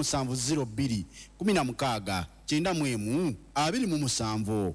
07 02 16 91 27.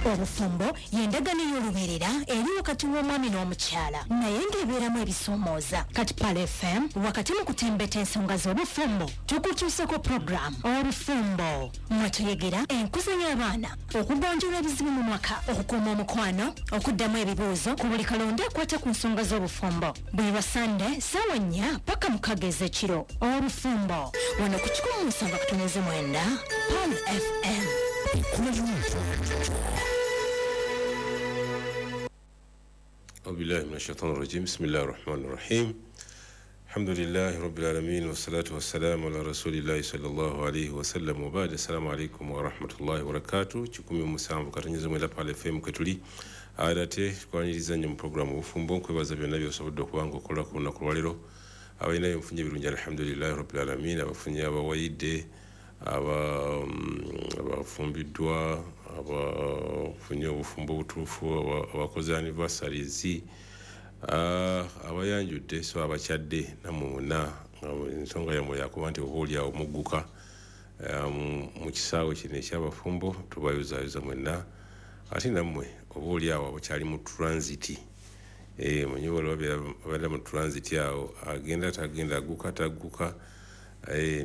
Obufumbo y'endagaano ey'olubeerera eri wakati w'omwami n'omukyala, naye ng'ebeeramu ebisoomooza. Kati Pearl FM wakati mu kutembeta ensonga z'obufumbo tukutuuseko puroguramu Obufumbo, mwe tuyegera enkuza y'abaana, okugonjoola ebizibu mu maka, okukuuma omukwano, okuddamu ebibuuzo ku buli kalonda akwata ku nsonga z'obufumbo. Buli lwa Sande ssaawa 4 paka 6 ez'ekiro. Obufumbo wano ku 107.9 Pearl FM. أعوذ بالله من الشيطان الرجيم. بسم الله الرحمن الرحيم. الحمد لله رب العالمين، والصلاة والسلام على رسول الله صلى الله عليه وسلم، وبعد. السلام عليكم ورحمة الله وبركاته. 107.9 Pearl FM kwetuli ate tukwaniriza nnyo mu programu Obufumbo. Nkwebaza byonna by'osobodde okuba nga okola ku lunaku lwaleero. Abalina byenfunye ebirungi, alhamdulillahi rabbil alamin. Abafunye, abawayidde, abafumbiddwa, abafunye obufumbo obutuufu, abakoze anniversaries, abayanjudde, so abakyadde, nammwe mwenna ensonga yammwe yakuba nti oba oliawo mugguka mu kisaawe kino ekyabafumbo, tubayozaayoza mwenna. Ate nammwe oba oliawo abakyali mu transit, manyi waliwo ababeera mu transit awo, agenda tagenda, agguka tagguka,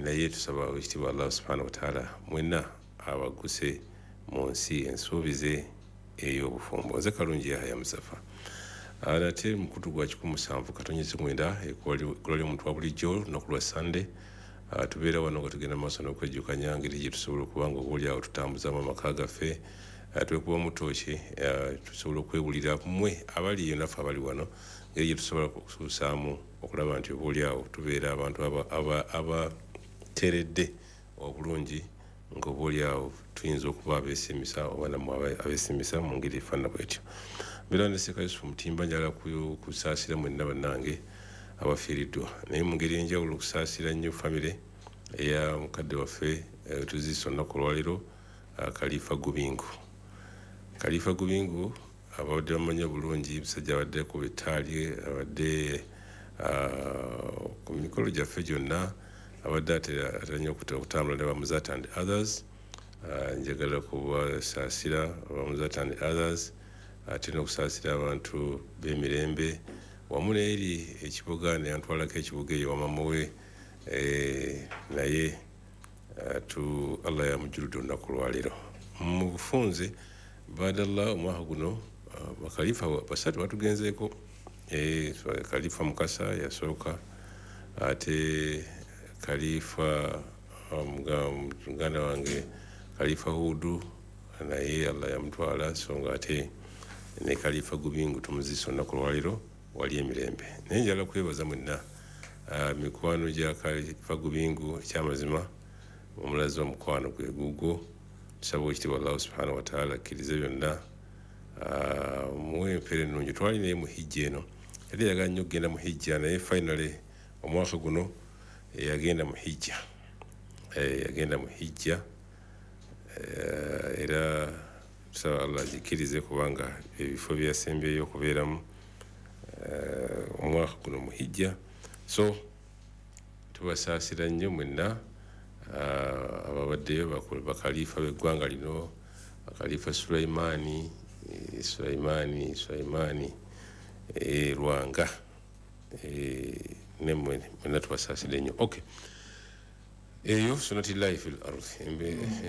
naye tusaba ekitiibwa Allah subhanahu wataala mwenna abaguse mu nsi ensuubize ey'obufumbo. Nze Kalungi Yahaya Musafa, nate mukutu gwa 107.9, ekkola ly'omuntu wa bulijjo. Olunaku lwa Sande tubeera wano nga tugenda mu maaso n'okwejjukanya ngeri gye tusobola okuba nga oba oliawo tutambuzamu amaka gaffe, twekuba mutooki, tusobola okwewulira mmwe abali eyo naffe abali wano, ngeri gye tusobola okusuusaamu okulaba nti oba oliawo tubeera abantu abateredde obulungi, nga oba oliawo tuyinza okuba abeesimisa oba nammwe abeesimisa mu ngeri efaanana bwetyo. Mbeera ne Sseeka Yusufu Mutimba. Njagala kusaasira mwenna bannange abafiiriddwa, naye mu ngeri enjawulo okusaasira nnyo famire eya mukadde waffe tuziise olunaku olwaleero, Khalifa Gubingu. Khalifa Gubingu abadde bamanyi bulungi, musajja abadde ku bitaali, abadde ku mikolo gyaffe gyonna, abadde atera nnyo okutambula ne Bamuzata and others. Njagala kubasaasira Bamuzata and others, ate n'okusaasira abantu b'emirembe wamu n'eri ekibuga, neyantwalako ekibuga eyo wamama we, naye tu Allah yamujjuludde olunaku olwaleero. Mu bufunze badallah, omwaka guno bakalifa basatu batugenzeeko. Khalifa Mukasa yasooka, ate Khalifa muganda wange Khalifa Hudu naye Allah yamutwala, so nga ate ne Khalifa Gubingu tumuziise olunaku olwaleero wali emirembe. Naye njagala kwebaza mwenna mikwano gya Khalifa Gubingu, ekyamazima omulazi w'omukwano gwe gugwo. Tusaba ekitiibwa Allah subhanahu wataala akkirize byonna, muwe empeera ennungi. Twali naye mu hijja eno, yali yagala nnyo okugenda mu hijja, naye finally omwaka guno yagenda mu hijja, yagenda mu hijja, era tusaba Allah agikkirize kubanga ebifo byeyasembyeyo okubeeramu omwaka guno mu hijja. So tubasaasira nnyo mwenna ababaddeyo, bakalifa b'eggwanga lino, Khalifa Sulaimani Sulaimani Sulaimani Lwanga, nemmwe mwenna tubasaasira nnyo. Okay, eyo sunnatillahi fil ardi,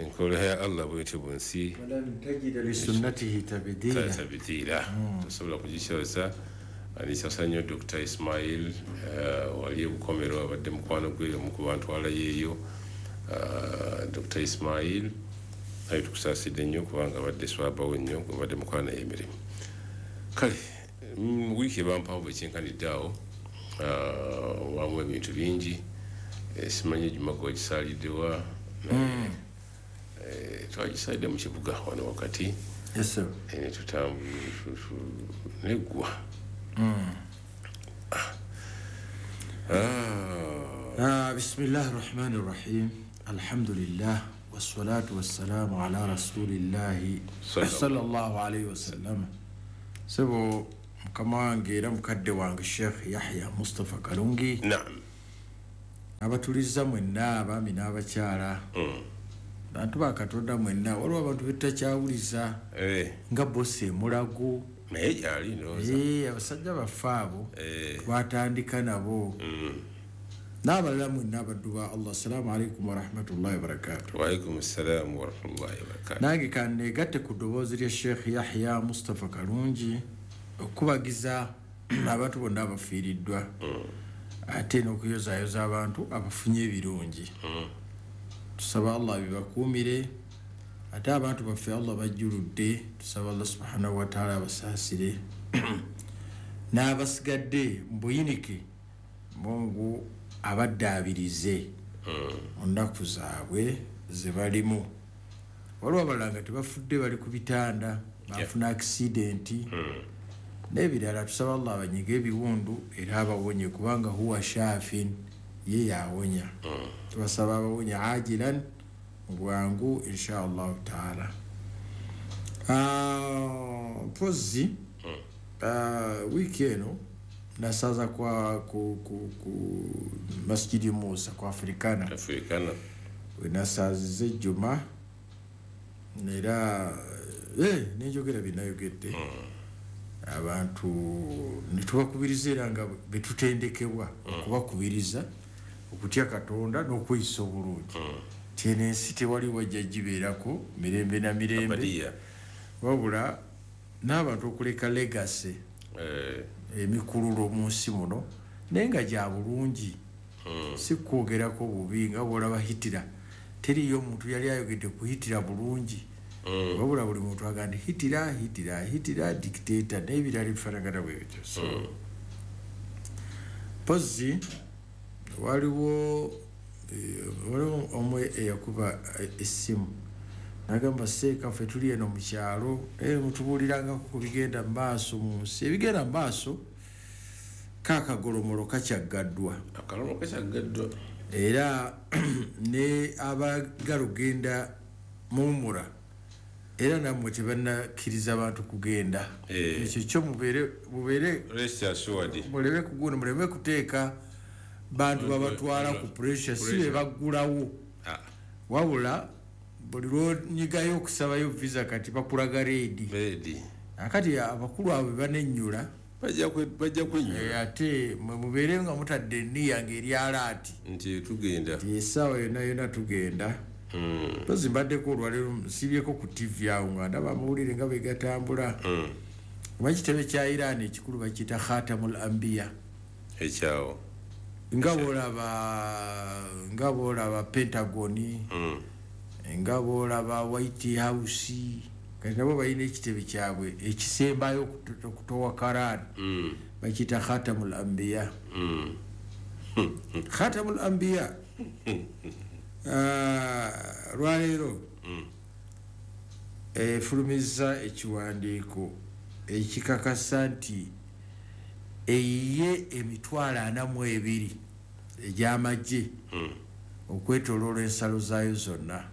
enkola ya Allah bwetyo bu nsi, walan tajida lisunnatihi tabdila, tabdila, tosobola kugikyusa. Alisasa nnyo Dr. Ismail wali Bukomero, abadde mukwano gwe omu ku bantu alayo eyo. Dr. Ismail naye tukusaasidde nnyo kubanga abadde swabawo nnyo, abadde mukwano naye emirimu. Kale wiiki eba mpanvu ekyenkanidde awo, wamu ebintu bingi. Simanyi ejjuma gwegisaaliddewa, twagisalidde mu kibuga wano wakati neggwa. بسم الله الرحمن الرحيم، الحمد لله والصلاة والسلام على رسول الله صلى الله عليه وسلم. Sebo mukama wange era mukadde wange Sheikh Yahya Mustafa Kalungi. Naam. Abatuliza mwenna abaami n'abakyala. Bantu ba Katonda mwenna, waliwo abantu betutakyawuliza nga bosi emulago. Naye gyali ndowooza. Abasajja baffe abo twatandika nabo. N'abalala mwenna abaddu ba Allah, assalamu alaikum warahmatullahi wabarakatuh. Wa alaikum assalaamu warahmatullahi wabarakatuh. Nange kanneegatte ku ddoboozi lya Sheikh Yahya Mustapha Kalungi okubagiza abantu bonna abafiiriddwa, ate n'okuyozaayoza abantu abafunye ebirungi. Tusaba Allah bibakuumire, ate abantu baffe Allah bajjuludde, tusaba Allah subhanahu wa ta'ala abasaasire n'abasigadde mu buyinike, Mungu abaddaabirize mu nnaku zaabwe ze balimu. Waliwo abalala nga tebafudde, bali ku bitanda, bafuna akisidenti n'ebirala. Tusaba Allah abanyige ebiwundu era abawonye, kubanga huwa shafin, ye yawonya. Tubasaba abawonye ajilan, mu bwangu insha Allahu taala. Mpozi wiiki eno nasaza kwa ku Masjidi Musa kwa Afrikana. Wenasazize Juma era nenjogera binayogedde. Abantu netubakubiriza era nga betutendekebwa okubakubiriza okutya Katonda n'okweyisa obulungi. Tene ensi tewali wajja gibeerako mirembe na mirembe, wabula n'abantu okuleka legacy emikululo mu nsi muno, naye nga gya bulungi, si kwogerako bubi nga bw'olaba Hitler. Teriyo omuntu yali ayogedde ku Hitler bulungi, wabula buli muntu agamba Hitler, Hitler, Hitler, dictator n'ebirala ebifaanagana bwe bityo. So mpozi waliwo omwe eyakuba essimu nagamba, seeka ffe tuli eno mu kyalo, mutubuulirangako ku bigenda mu maaso mu nsi. Ebigenda mu maaso kaakagolomolo kakyaggaddwa. Era ne abaagala okugenda muwummula era nammwe tebannakkiriza abantu kugenda. Ekyo kyo mubeere muleme kugunda, muleme kuteeka bantu babatwala ku pressure, si be baggulawo. Wabula buli lwonyigayo okusabayo visa kati bakulaga reedi. Akati abakulu abo banennyula bajja kwennyula, ate mwe mubeere nga mutadde enniya ng'eri alaati nti tugenda, nti essaawa yonna yonna tugenda. Mpozi mbaddeko olwaleero nsibyeko ku TV awo nga ndaba amawulire nga bwe gatambula. Oba ekitebe kya Iran ekikulu bakiyita Khatamul Anbiya. Ekyawo nga bw'olaba Pentagon, nga bw'olaba White House, kati nabo balina ekitebe kyabwe ekisembayo okutowa Karaani, bakiyita Khatamul Anbiya. Khatamul Anbiya lwaleero efulumizza ekiwandiiko ekikakasa nti eyiye 42,000 egy'amagye okwetooloola ensalo zaayo zonna.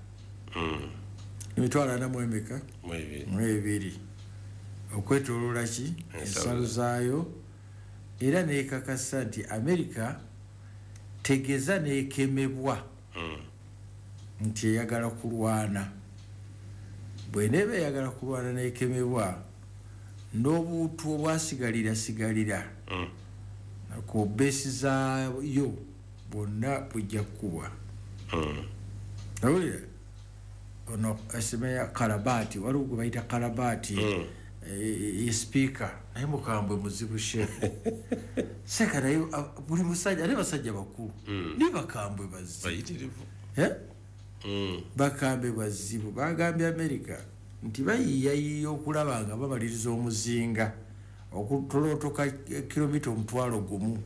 42,000 okwetooloola ki ensalo zaayo, era neekakasa nti Amerika tegeza neekemebwa nti eyagala kulwana. Bw'eneeba eyagala kulwana neekemebwa, n'obuutu obwasigalira sigalira ku beesi zaayo bwonna bujja kukubwa. Awulira ono esemeya Kalabaati, waliwo gwe bayita Kalabaati, ye sipiika, naye mukambwe muzibu sheekh. Seeka naye buli musajja, ate basajja bakulu naye bakambwe bazibu, bakambwe bazibu. Bagambye Amerika nti bayiiyayiiya okulaba nga bamaliriza omuzinga okutolootoka kilomita 1,000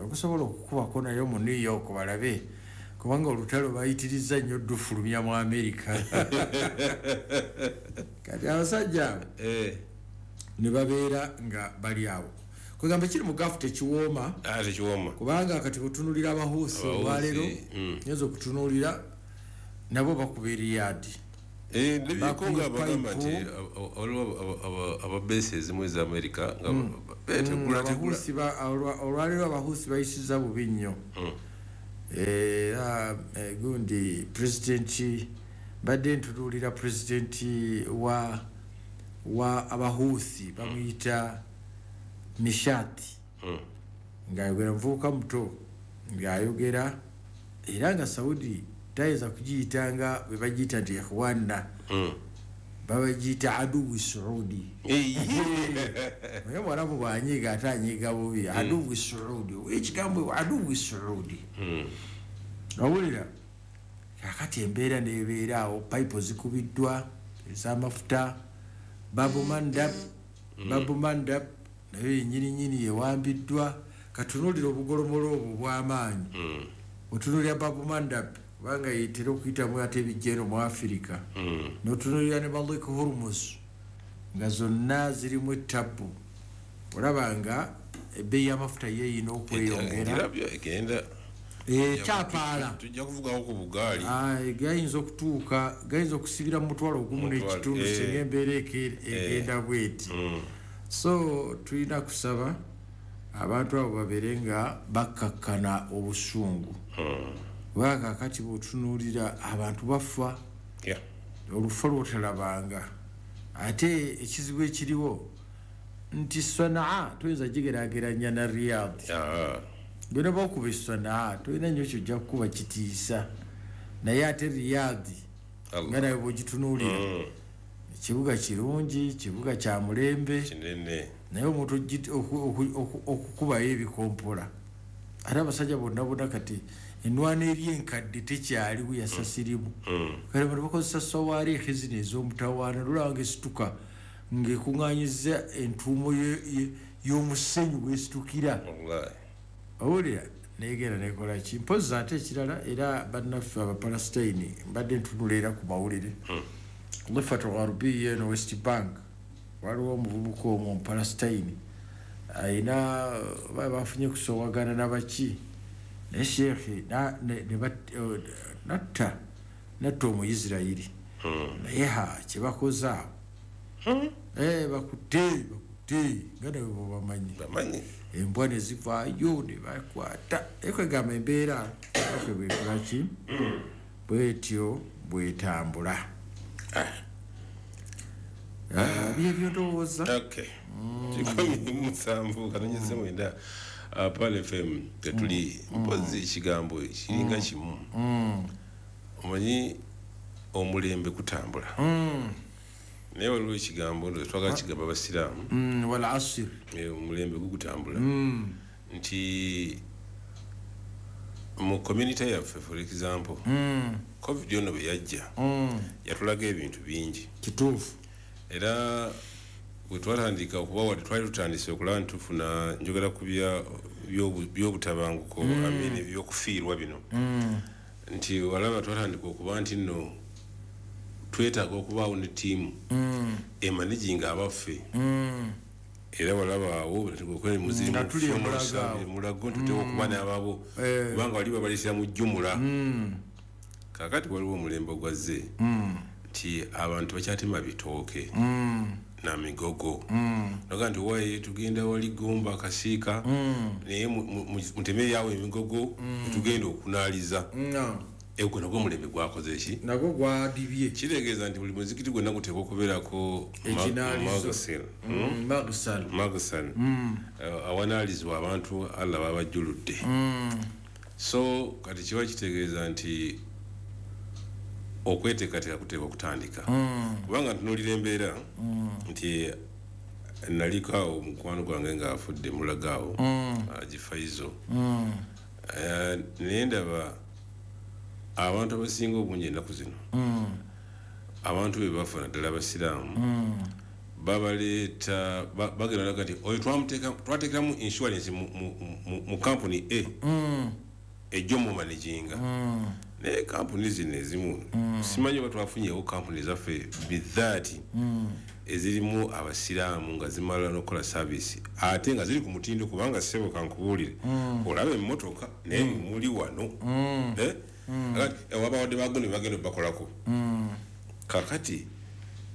okusobola okukubako nayo mu New York balabe, kubanga olutalo bayitiriza nnyo ddufulumya mu Amerika. Kati abasajja abo ne babeera nga bali awo. Kwegamba kiri mu gafu tekiwooma, kubanga kati bw'otunuulira Abahuusi olwaleero, nyinza okutunuulira nabo bakuba Riyadh. Ndabirako nga bagamba nti waliwo ababeesi ezimu eza Amerika nga olwaleero Abahuusi bayisiza bubi nnyo. Era gundi president, mbadde ntunuulira president wa Abahuthi, bamuyita Mishati, ng'ayogera, muvubuka muto ng'ayogera, era nga Saudi tayinza kugiyita nga bwe bagiyita nti ikhwana, babagiyita aduwi Saudi. Naye Mwarabu bwanyiga, ate anyiga bubi. Aduwi Saudi, ekigambo aduwi Saudi, owulira? Kakati embeera nebeera awo, pipe zikubiddwa ez'amafuta, Babumandab, Babumandab nayo yenyininyini yewambiddwa. Katunuulira obugolomolo obwo bw'amaanyi. Otunuulira Babumandab, kubanga yetera okuyitamu ate ebijja eno mu Afirika, notunuulira ne Malik Hormuz, nga zonna zirimu ettabbu. Olaba nga ebbeeyi y'amafuta yeeyina okweyongera. Ngirabyo egenda. Kyapaala. Tujja kuvugawo ku bugaali. Gayinza okutuuka, gayinza okusibira mu 1000 n'ekitundu, singa embeera egenda bweti. So tulina kusaba abantu abo babeere nga bakkakkana obusungu, kubanga kakati bw'otunuulira abantu bafa olufa lwotalabanga. Ate ekizibu ekiriwo nti Sanaa toyinza gigeraageranya na Riyadh. Bwena bakuba Sanaa, tolina nnyo kyojja kukuba kitiisa, naye ate Riyadh Allah. nga nawe bwogitunuulira, ekibuga kirungi, kibuga kya mulembe, kinene, naye omuntu okukubayo ebikompola, ate abasajja bonna bonna kati enwana eri enkadde tekyaliwo, yasasirimu. Kale bano bakozesa sawaariikhi zino ez'omutawaana, lulaba nga esituka ng'ekuŋŋaanyiza entuumo y'omusenyu bwesitukira. Wallahi. Owulira negenda nekola ki? Mpozi ate ekirala, era bannaffe Abapalasitayini, mbadde ntunula era ku mawulire, Lifat Gharbiya eno, West Bank, waliwo omuvubuka omwo Omupalasitayini ayina bafunye kusowagana nabaki, naye sheekhe natta Omuisirayiri. Naye ha kyebakoze awo, bakutte nga nawe bwebamanyi. Bamanyi. Embwa ne zivaayo ne bakwata. Ekwegamba embeera afe bwekolaki, bwetyo bwetambula. Byebyo ndowooza. Okay, 17.9, Pearl FM tetuli. Mpozi ekigambo kiringa kimu. Omanyi omulembe kutambula, naye waliwo ekigambo ndo twagala kigamba Abasiraamu. Wal asr. Omulembe gugutambula nti mu community yaffe, for example, COVID ono bwe yajja, yatulaga ebintu bingi. Kituufu. Era bwe twatandika okuba, wadde twali tutandise okulaba nti tufuna, njogera ku byobutabanguko, I mean, ebyokufiirwa bino, nti walaba twatandika okuba nti nno twetaaga okubaawo ne ttiimu emanaginga abaffe. Era walaba awo Nga tuli e Mulago awo. Mulago ntuteeka okuba n'ababo, kubanga wali babaleetera mu jjumula. Kaakati waliwo omulembe ogwazze nti abantu bakyatema bitooke na migogo, naga nti waye tugenda wali Gomba Kasiika, naye muteme yawo emigogo tugenda okunaaliza. No. Egwo nagwo omulembe gwakoze ki? Nagwo gwadibye. Kitegeeza nti buli muzikiti gwonna guteekwa okubeerako Ekinaalizo. magasel. Magsal. Magasal, awanaalizibwa abantu Allah babajjuludde. So kati kiba kitegeeza nti okweteekateeka kuteekwa okutandika, kubanga ntunuulira embeera nti naliko awo mukwano gwange ng'afudde Mulago awo Gifaizo. Naye ndaba abantu abasinga obungi ennaku zino, abantu be bafa, naddala Abasiraamu, babaleeta bagenda laga nti oyo twateekeramu insurance mu kampuni a ejjo mu managinga. Naye kampuni zino ezimu, simanyi oba twafunyewo kampuni zaffe bizaati ezirimu Abasiraamu nga zimala n'okukola service, ate nga ziri ku mutindo, kubanga ssebo kankubuulire, olaba emmotoka naye muli wano. Eh? Kakati, wabawadde bagundi bagenda obakolako. Kakati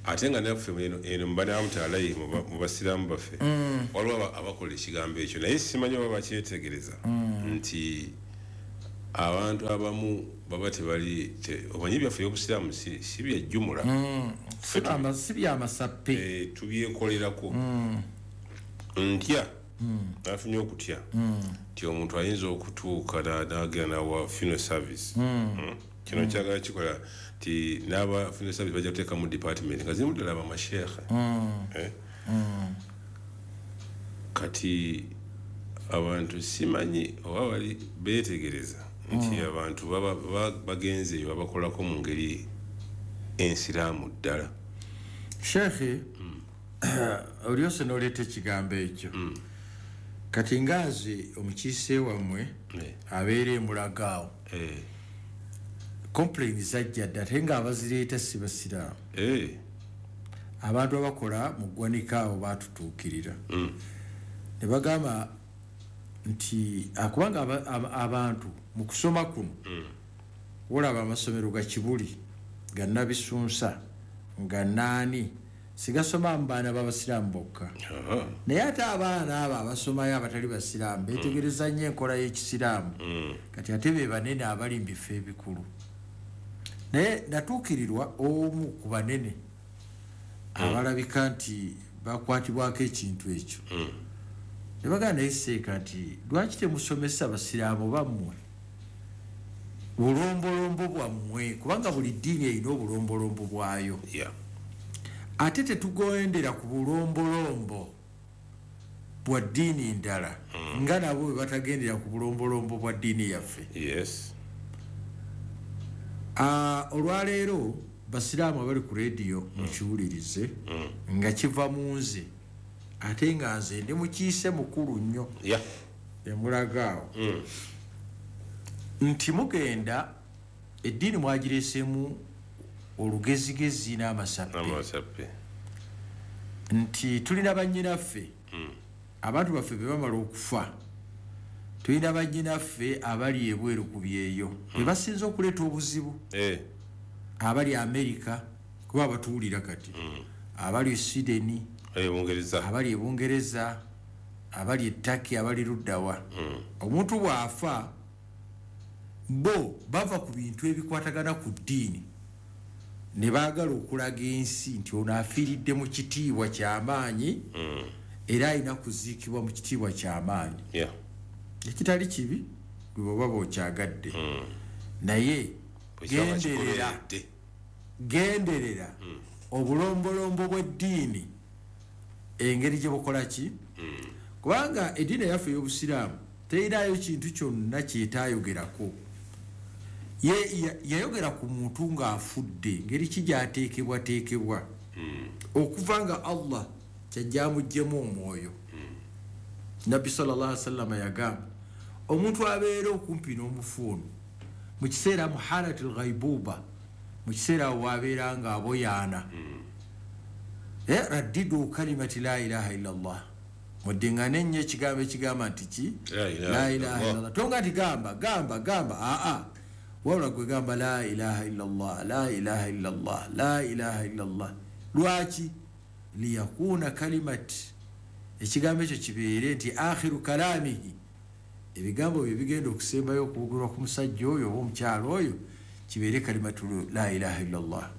ate nga naffe eno mubanaamutalayi mu basiraamu baffe waliwo abakola ekigambo ekyo, naye simanyi oba bakyetegereza nti Abantu abamu baba tebali omanyi byaffe obusiraamu si bya jjumula. Si bya masappe. Tubyekolerako. Ntya nafunye okutya nti omuntu ayinza okutuuka n'agenda n'awa funeral service. Kino kyagala kikola nti n'aba funeral service bajja kuteekamu department nga zirimu ddala bamasheekhe. Kati abantu simanyi oba bali beetegereza nti abantu baba bagenze eyo babakolako mu ngeri ensiraamu ddala. Sheekhe, olyose n'oleeta ekigambo ekyo. Kati ngazi omukiise wammwe abeera emulaga awo. Complain zajja dda ate ng'abazireeta si basiraamu. Abantu abakola mu ggwanika awo baatutuukirira. Ne bagamba nti kubanga abantu mu kusoma kuno olaba amasomero ga Kibuli, ga Nabisunsa, nga naani sigasoma mu baana b'abasiraamu bokka. Naye ate abaana abo abasomayo abatali basiraamu beetegereza nnyo enkola y'ekisiraamu. Kati ate be banene abali mu bifo ebikulu. Naye natuukirirwa omu ku banene abalabika nti bakwatibwako ekintu ekyo. Ne bagamba naye seeka nti lwaki temusomesa basiraamu bammwe bulombolombo bwammwe, kubanga buli ddiini erina obulombolombo bwayo. Ate tetugendera ku bulombolombo bwa ddiini ndala nga nabo bwe batagendera ku bulombolombo bwa ddiini yaffe. Olwaleero basiraamu abali ku rediyo mukiwulirize nga kiva mu nze, ate nga nze ndi mukiise mukulu nnyo emulaga awo nti mugenda eddiini mwagireeseemu olugezigezi n'amasappe. Nti tulina bannyinaffe, abantu baffe be bamala okufa, tulina bannyinaffe abali ebweru ku byeyo be basinze okuleeta obuzibu. Abali Amerika kuba batuwulira kati, abali Sweden, abali e Bungereza, abali e Turkey, abali luddawa. Omuntu bw'afa bo bava ku bintu ebikwatagana ku ddiini ne baagala okulaga ensi nti ono afiiridde mu kitiibwa ky'amaanyi era alina kuziikibwa mu kitiibwa ky'amaanyi. Ekitali kibi gwe bw'oba bw'okyagadde. Naye genderera obulombolombo bw'eddiini engeri gye bukola ki, kubanga eddiini eyaffe ey'obusiraamu terinayo kintu kyonna kyetaayogerako. Yayogera ku muntu ng'afudde ngeri ki gy'ateekebwateekebwa okuva nga Allah kyajja amuggyemu omwoyo. Nabbi sallallahu alaihi wasallam yagamba omuntu abeera okumpi n'omufu ono mu kiseera mu halatil ghaibuba, mu kiseera awo wabeera ng'aboyaana, raddidu kalimati la ilaha illa Allah, muddingane nnyo ekigambo ekigamba nti ki la ilaha illa Allah. Tonga nti gamba gamba gamba, aa wabula gwe gamba la ilaha illa Allah, la ilaha illa Allah, la ilaha illa Allah. Lwaki? Liyakuna kalimati, ekigambo ekyo kibeere nti akhiru kalamihi, ebigambo bye bigenda okusembayo okwogerwa ku musajja oyo oba omukyala oyo kibeere kalimatu la ilaha illa Allah.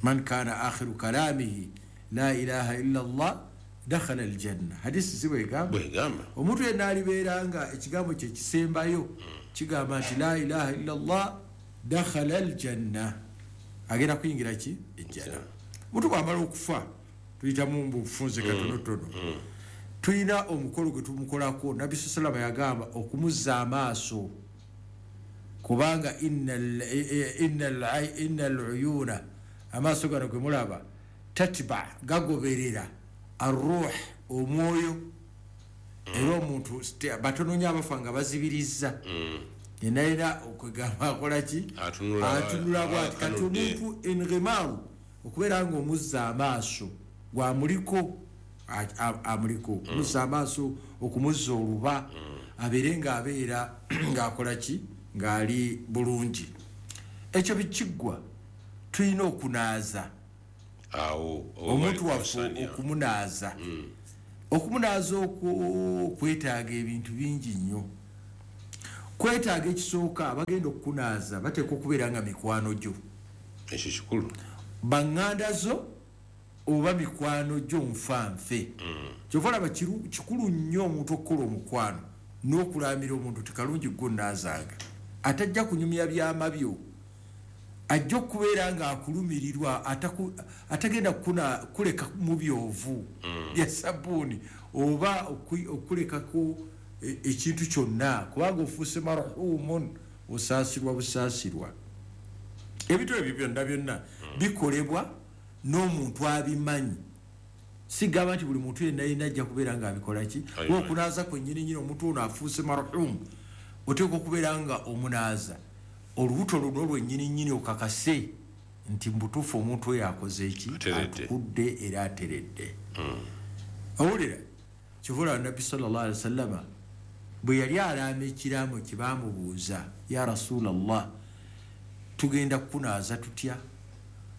Man kana akhiru kalamihi la ilaha illa Allah dakhala aljanna. Hadisi si bwegamba. Omuntu yenna alibeera nga ekigambo kye kisembayo kigamba nti la ilaha illa Allah dakhala aljanna, agenda kuyingira ki? Ejjana. Omuntu bw'amala okufa tuyitamu mu bufunze katonotono, tulina omukolo gwe tumukolako. Nabbi sallallahu alayhi wasallam yagamba okumuzza amaaso, kubanga innal uyuna, amaaso gano ge mulaba tatba, gagoberera arruh, omwoyo. Era omuntu batono nnyo abafa nga bazibirizza, yenna yena okwegamba akola ki? Atunula bw'ati. Kati omuntu engemaru okubeera ng'omuzza amaaso gwamuliko, amuliko okumuzza amaaso, okumuzza oluba, abeere ng'abeera ng'akola ki? Ng'ali bulungi. Ekyo bikiggwa tulina okunaaza omuntu waffe, okumunaaza. Okumunaaza okwo kwetaaga ebintu bingi nnyo. Kwetaaga ekisooka, abagenda okukunaaza bateekwa okubeera nga mikwano gyo. Ekyo kikulu. Baŋŋanda zo oba mikwano gyo nfanfe. Kyova olaba kikulu nnyo omuntu okukola omukwano n'okulaamira omuntu tikalungi gwonnaazanga, atajja kunyumya byama byo, ajja okubeera ng'akulumirirwa, atagenda kuleka mu byovu bya sabbuuni oba okulekako ekintu kyonna, kubanga ofuuse marhumun, osaasirwa busaasirwa. Ebintu ebyo byonna byonna bikolebwa n'omuntu abimanyi. Sigamba nti buli muntu yenna yenna ajja kubeera ng'abikola ki. Okunaaza kwennyini nnyini, omuntu ono afuuse marhum, oteekwa okubeera nga omunaaza olubuto luno lwennyini nnyini, okakase nti mubutuufu omuntu oyo akoze eki, atukudde era ateredde. Owulira, kivula Nabbi sallallahu alaihi wasallama bwe yali alaama ekiraamo kye, baamubuuza, ya Rasulallah, tugenda kukunaaza tutya,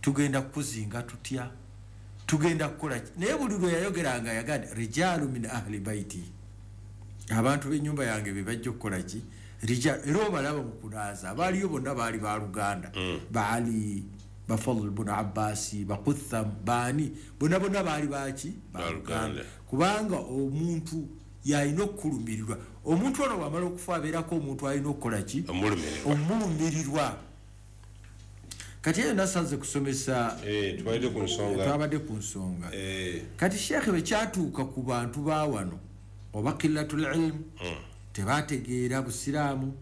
tugenda kukuzinga tutya, tugenda kukola ki? Naye buli lwe yayogeranga yagamba rijalu min ahli baiti, abantu b'ennyumba yange be bajja okukola ki. Era obalaba mu kunaaza abaaliyo bonna baali baluganda, baali Bafadl bunu Abbasi, Bakutham, baani, bonna bonna baali baki, baluganda. Kubanga omuntu yalina okukulumirirwa. Omuntu ono bwamala okufa abeerako omuntu alina okukola ki, omulumirirwa. Kati eyo nasanze kusomesa, twabadde ku nsonga. Kati sheekhe bwe kyatuuka ku bantu ba wano oba qillatul ilm, tebategeera busiraamu,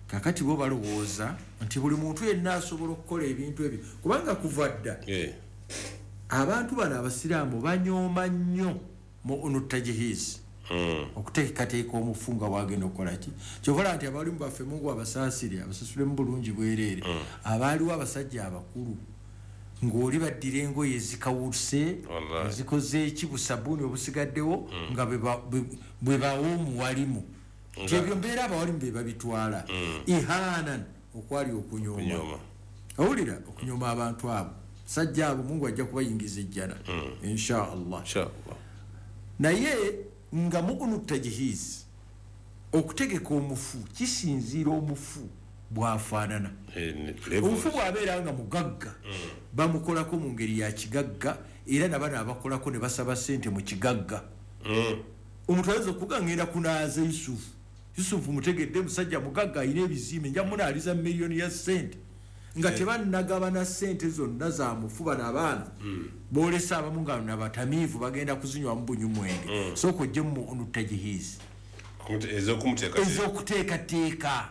kakati bo balowooza nti buli muntu yenna asobola okukola ebintu ebyo, kubanga kuva dda abantu bano abasiraamu banyooma nnyo mu onutajihizi, okuteekateeka omufu nga bwagenda okukola ki. Kyovola nti abalimu baffe, Mungu abasaasire abasasulemu bulungi bwereere, abaaliwo abasajja abakulu ng'oli baddira engoye ezikawuse ezikoze eki, busabuuni obusigaddewo nga bwe bawa omuwalimu, nti ebyo mbeera abawalimu be babitwala ihanan, okwali okunyooma. Owulira, okunyooma abantu abo, sajja abo Mungu ajja kubayingiza ejjana insha Allah. Naye nga mugunu tajihizi, okutegeka omufu kisinziira omufu bw'afaanana. Omufu bw'abeera nga mugagga, bamukolako mu ngeri ya kigagga, era nabano abakolako ne basaba ssente mu kigagga. Omuntu ayinza okuga ngenda kunaaza Yusufu, Yusufu mutegedde musajja mugagga alina ebizimbe, nja munaaliza miliyoni ya ssente, nga tebannagabana ssente zonna za mufu. Bano abaana boolesa abamu nga nabatamiivu bagenda kuzinywamu bunywumwenge. Sooka ojje mu onutajihizi ez'okuteekateeka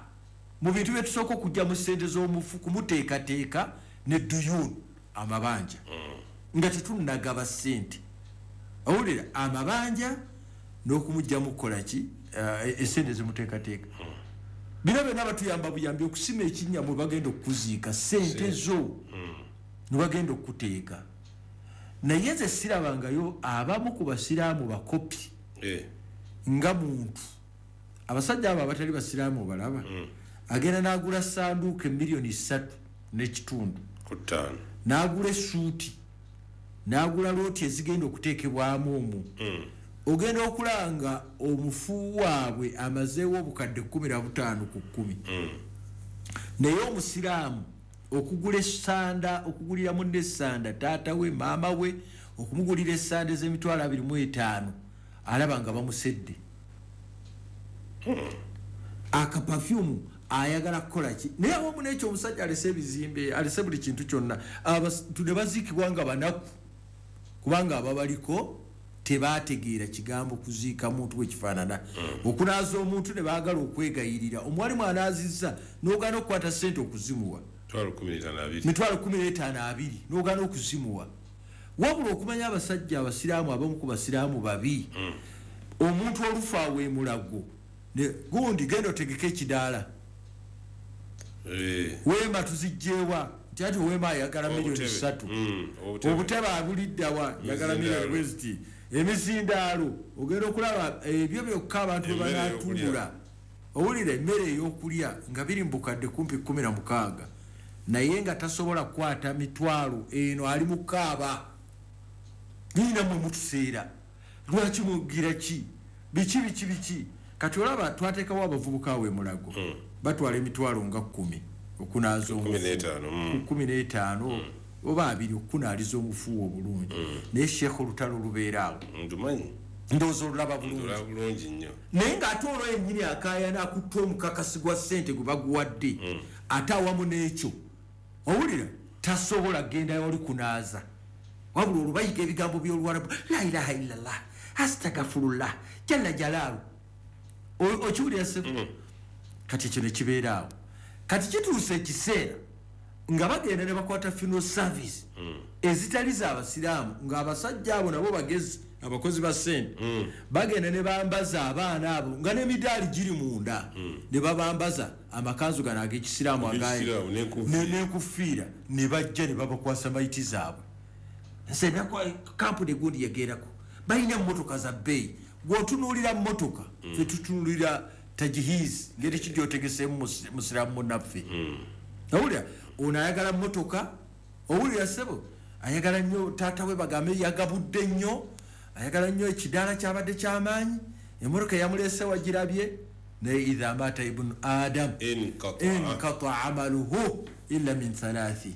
mu bintu bye tusooka okujja mu ssente z'omufu, kumuteekateeka ne duyun, amabanja, nga tetunnagaba ssente. Owulira, amabanja n'okumugjamu kukola ki, essente zimuteekateeka. Bino byonna batuyamba buyambi okusima ekinnya mwe bagenda okukuziika, ssente zo ne bagenda okukuteeka. Naye nze sirabangayo abamu ku basiraamu bakopi nga muntu. Abasajja abo abatali basiraamu obalaba, agenda n'agula sanduuka emiliyoni 3.5, n'agula essuuti, n'agula looti ezigenda okuteekebwamu omwo. Ogenda okulanga omufu waabwe amazeewo obukadde 15 ku 10. Naye omusiraamu okugula essanda, okugulira munne essanda, taata we, maama we, okumugulira essanda ez'emitwalo 25, alaba nga bamusedde. Akapafyumu ayagala kukola ki? Naye awamu n'ekyo omusajja alese ebizimbe, alese buli kintu kyonna, abantu ne baziikibwa nga banaku, kubanga ababaliko tebategeera kigambo kuziika muntu bwe kifaanana. Okunaaza omuntu ne baagala okwegayirira, omuwalimu anaazizza n'ogaana okukwata ssente okuzimuwa, mitwalo 15 n'ogaana okuzimuwa. Wabula okumanya abasajja abasiraamu, abamu ku basiraamu babi, omuntu olufa aweemulago gundi genda otegeke ekidaala, weema tuzijjeewa, nti ati weema ayagala miliyoni 3, obutebe abuliddawa njagala miliyoni bweziti, emizindaalo ogenda okulaba ebyo byokka abantu bwe banaatuula. Owulira, emmere ey'okulya nga biri mu bukadde kumpi 16, naye nga tasobola kukwata mitwalo eno, ali mu kaaba nina mmwe mutuseera, lwaki mugira ki, biki biki biki. Kati olaba twateekawo abavubuka awo emulago batwala emitwalo nga 10 okunaaza omufu 15 oba 20 okunaaliza omufu obulungi. Naye Sheikh olutalo lubeera awo ndumanyi ndowooza olulaba bulungi nnyo, naye ng'ate olwo yennyini akaayana akutta omukakasi gwa ssente gwe baguwadde, ate awamu n'ekyo owulira tasobola kgendayo oli kunaaza, wabula olwo bayiga ebigambo by'Oluwarabu, la ilaha illallah astagfirullah jalla jalaalu. Okiwulira ssebo? Kati ekyo ne kibeera awo. Kati kituuse ekiseera nga bagenda ne bakwata funeral service ezitali z'abasiraamu, ng'abasajja abo nabo bagezi abakozi ba ssente bagenda ne bambaza abaana abo nga n'emidaali giri munda, ne babambaza amakanzu gano ag'ekisiraamu n'enkufiira, ne bajja ne babakwasa mayiti zaabwe. Nze kampuni egundi yagerako balina emmotoka za bbeeyi, gw'otunuulira mmotoka ffe tutunuulira tajihizi ngeri ki gy'otegeseemu musiraamu munnaffe. Owulira ono ayagala mmotoka, owulira ssebo ayagala nnyo taata we bagambe yagabudde nnyo, ayagala nnyo ekidaala kyabadde kyamaanyi, emmotoka yamuleese wagirabye. Naye idha mata ibnu adam inqata amaluhu illa min thalathi,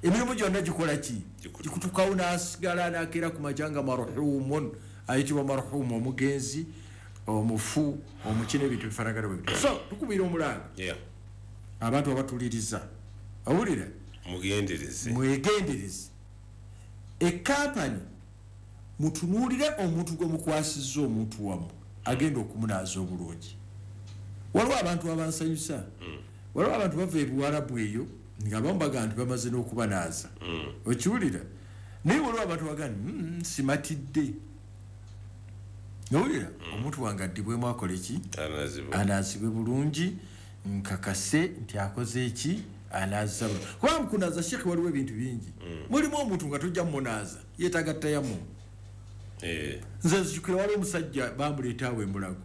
emirimu gyonna gikola ki? Gikutukawo n'asigala n'akeera ku makya nga marhumun, ayitibwa marhumu, omugenzi, omufu, omuki n'ebintu bifaanagana bwe bityo. So tukubira omulanga abantu abatuliriza, owulira mwegendereze ekampani, mutunuulire omuntu gwe mukwasizza omuntu wammwe agenda okumunaaza obulungi. Waliwo abantu abansanyusa, waliwo abantu bava ebuwarabu eyo nga abamu bagamba nti bamaze n'okubanaaza, okiwulira. Naye waliwo abantu bagamba nti simatidde, owulira omuntu wange addibwemu akole ki? Anaazibwe bulungi, nkakase nti akoze eki, anaaza bulungi. Kuba mukunaaza Sheikh waliwo ebintu bingi, mulimu omuntu nga tojja mumunaaza yeetaaga tayamu. Nze nzijukira waliwo omusajja bamuleeta awo emulago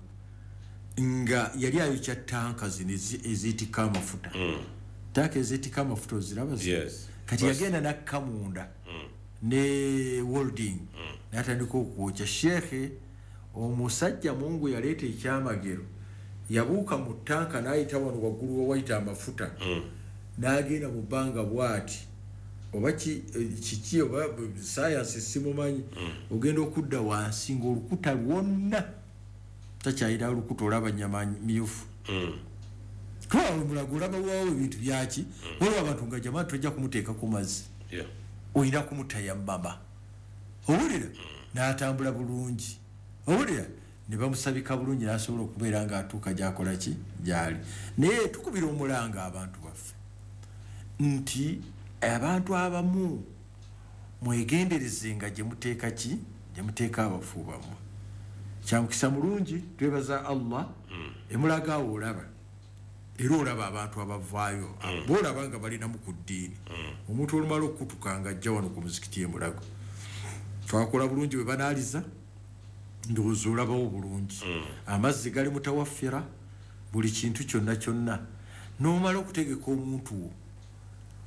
nga yali ayokya tanka zino eziitikka amafuta. Tanka eziitikka amafuta oziraba? Kati yagenda n'akka munda ne welding n'atandika okwokya. Sheikh omusajja Mungu yaleeta ekyamagero, yabuuka mu tanka n'ayita wano waggulu wewayita amafuta, n'agenda mu bbanga bw'ati oba kiki oba sayansi simumanyi, ogenda okudda wansi ng'olukuta lwonna takyayira olukuta, olaba nyama myufu. Kuba omulago olaba waawo ebintu byaki, waliwo abantu nga jamaa tojja kumuteeka ku mazzi, olina kumutayamama, owulira n'atambula bulungi, owulira ne bamusabika bulungi n'asobola okubeera ng'atuuka gy'akola ki gy'ali. Naye tukubira omulanga abantu baffe nti abantu abamu mwegendereze nga gye muteeka ki, gye muteeka abafu bammwe. Kyamukisa mulungi, twebaza Allah, emulaga awo olaba, era olaba abantu abavaayo boolaba nga balinamu ku ddiini. Omuntu olumala okukutuka nga ajja wano ku muzikiti emulago, twakola bulungi bwe banaaliza, ndowooza olabawo bulungi, amazzi gali mutawaffira, buli kintu kyonna kyonna, n'omala okutegeka omuntu wo.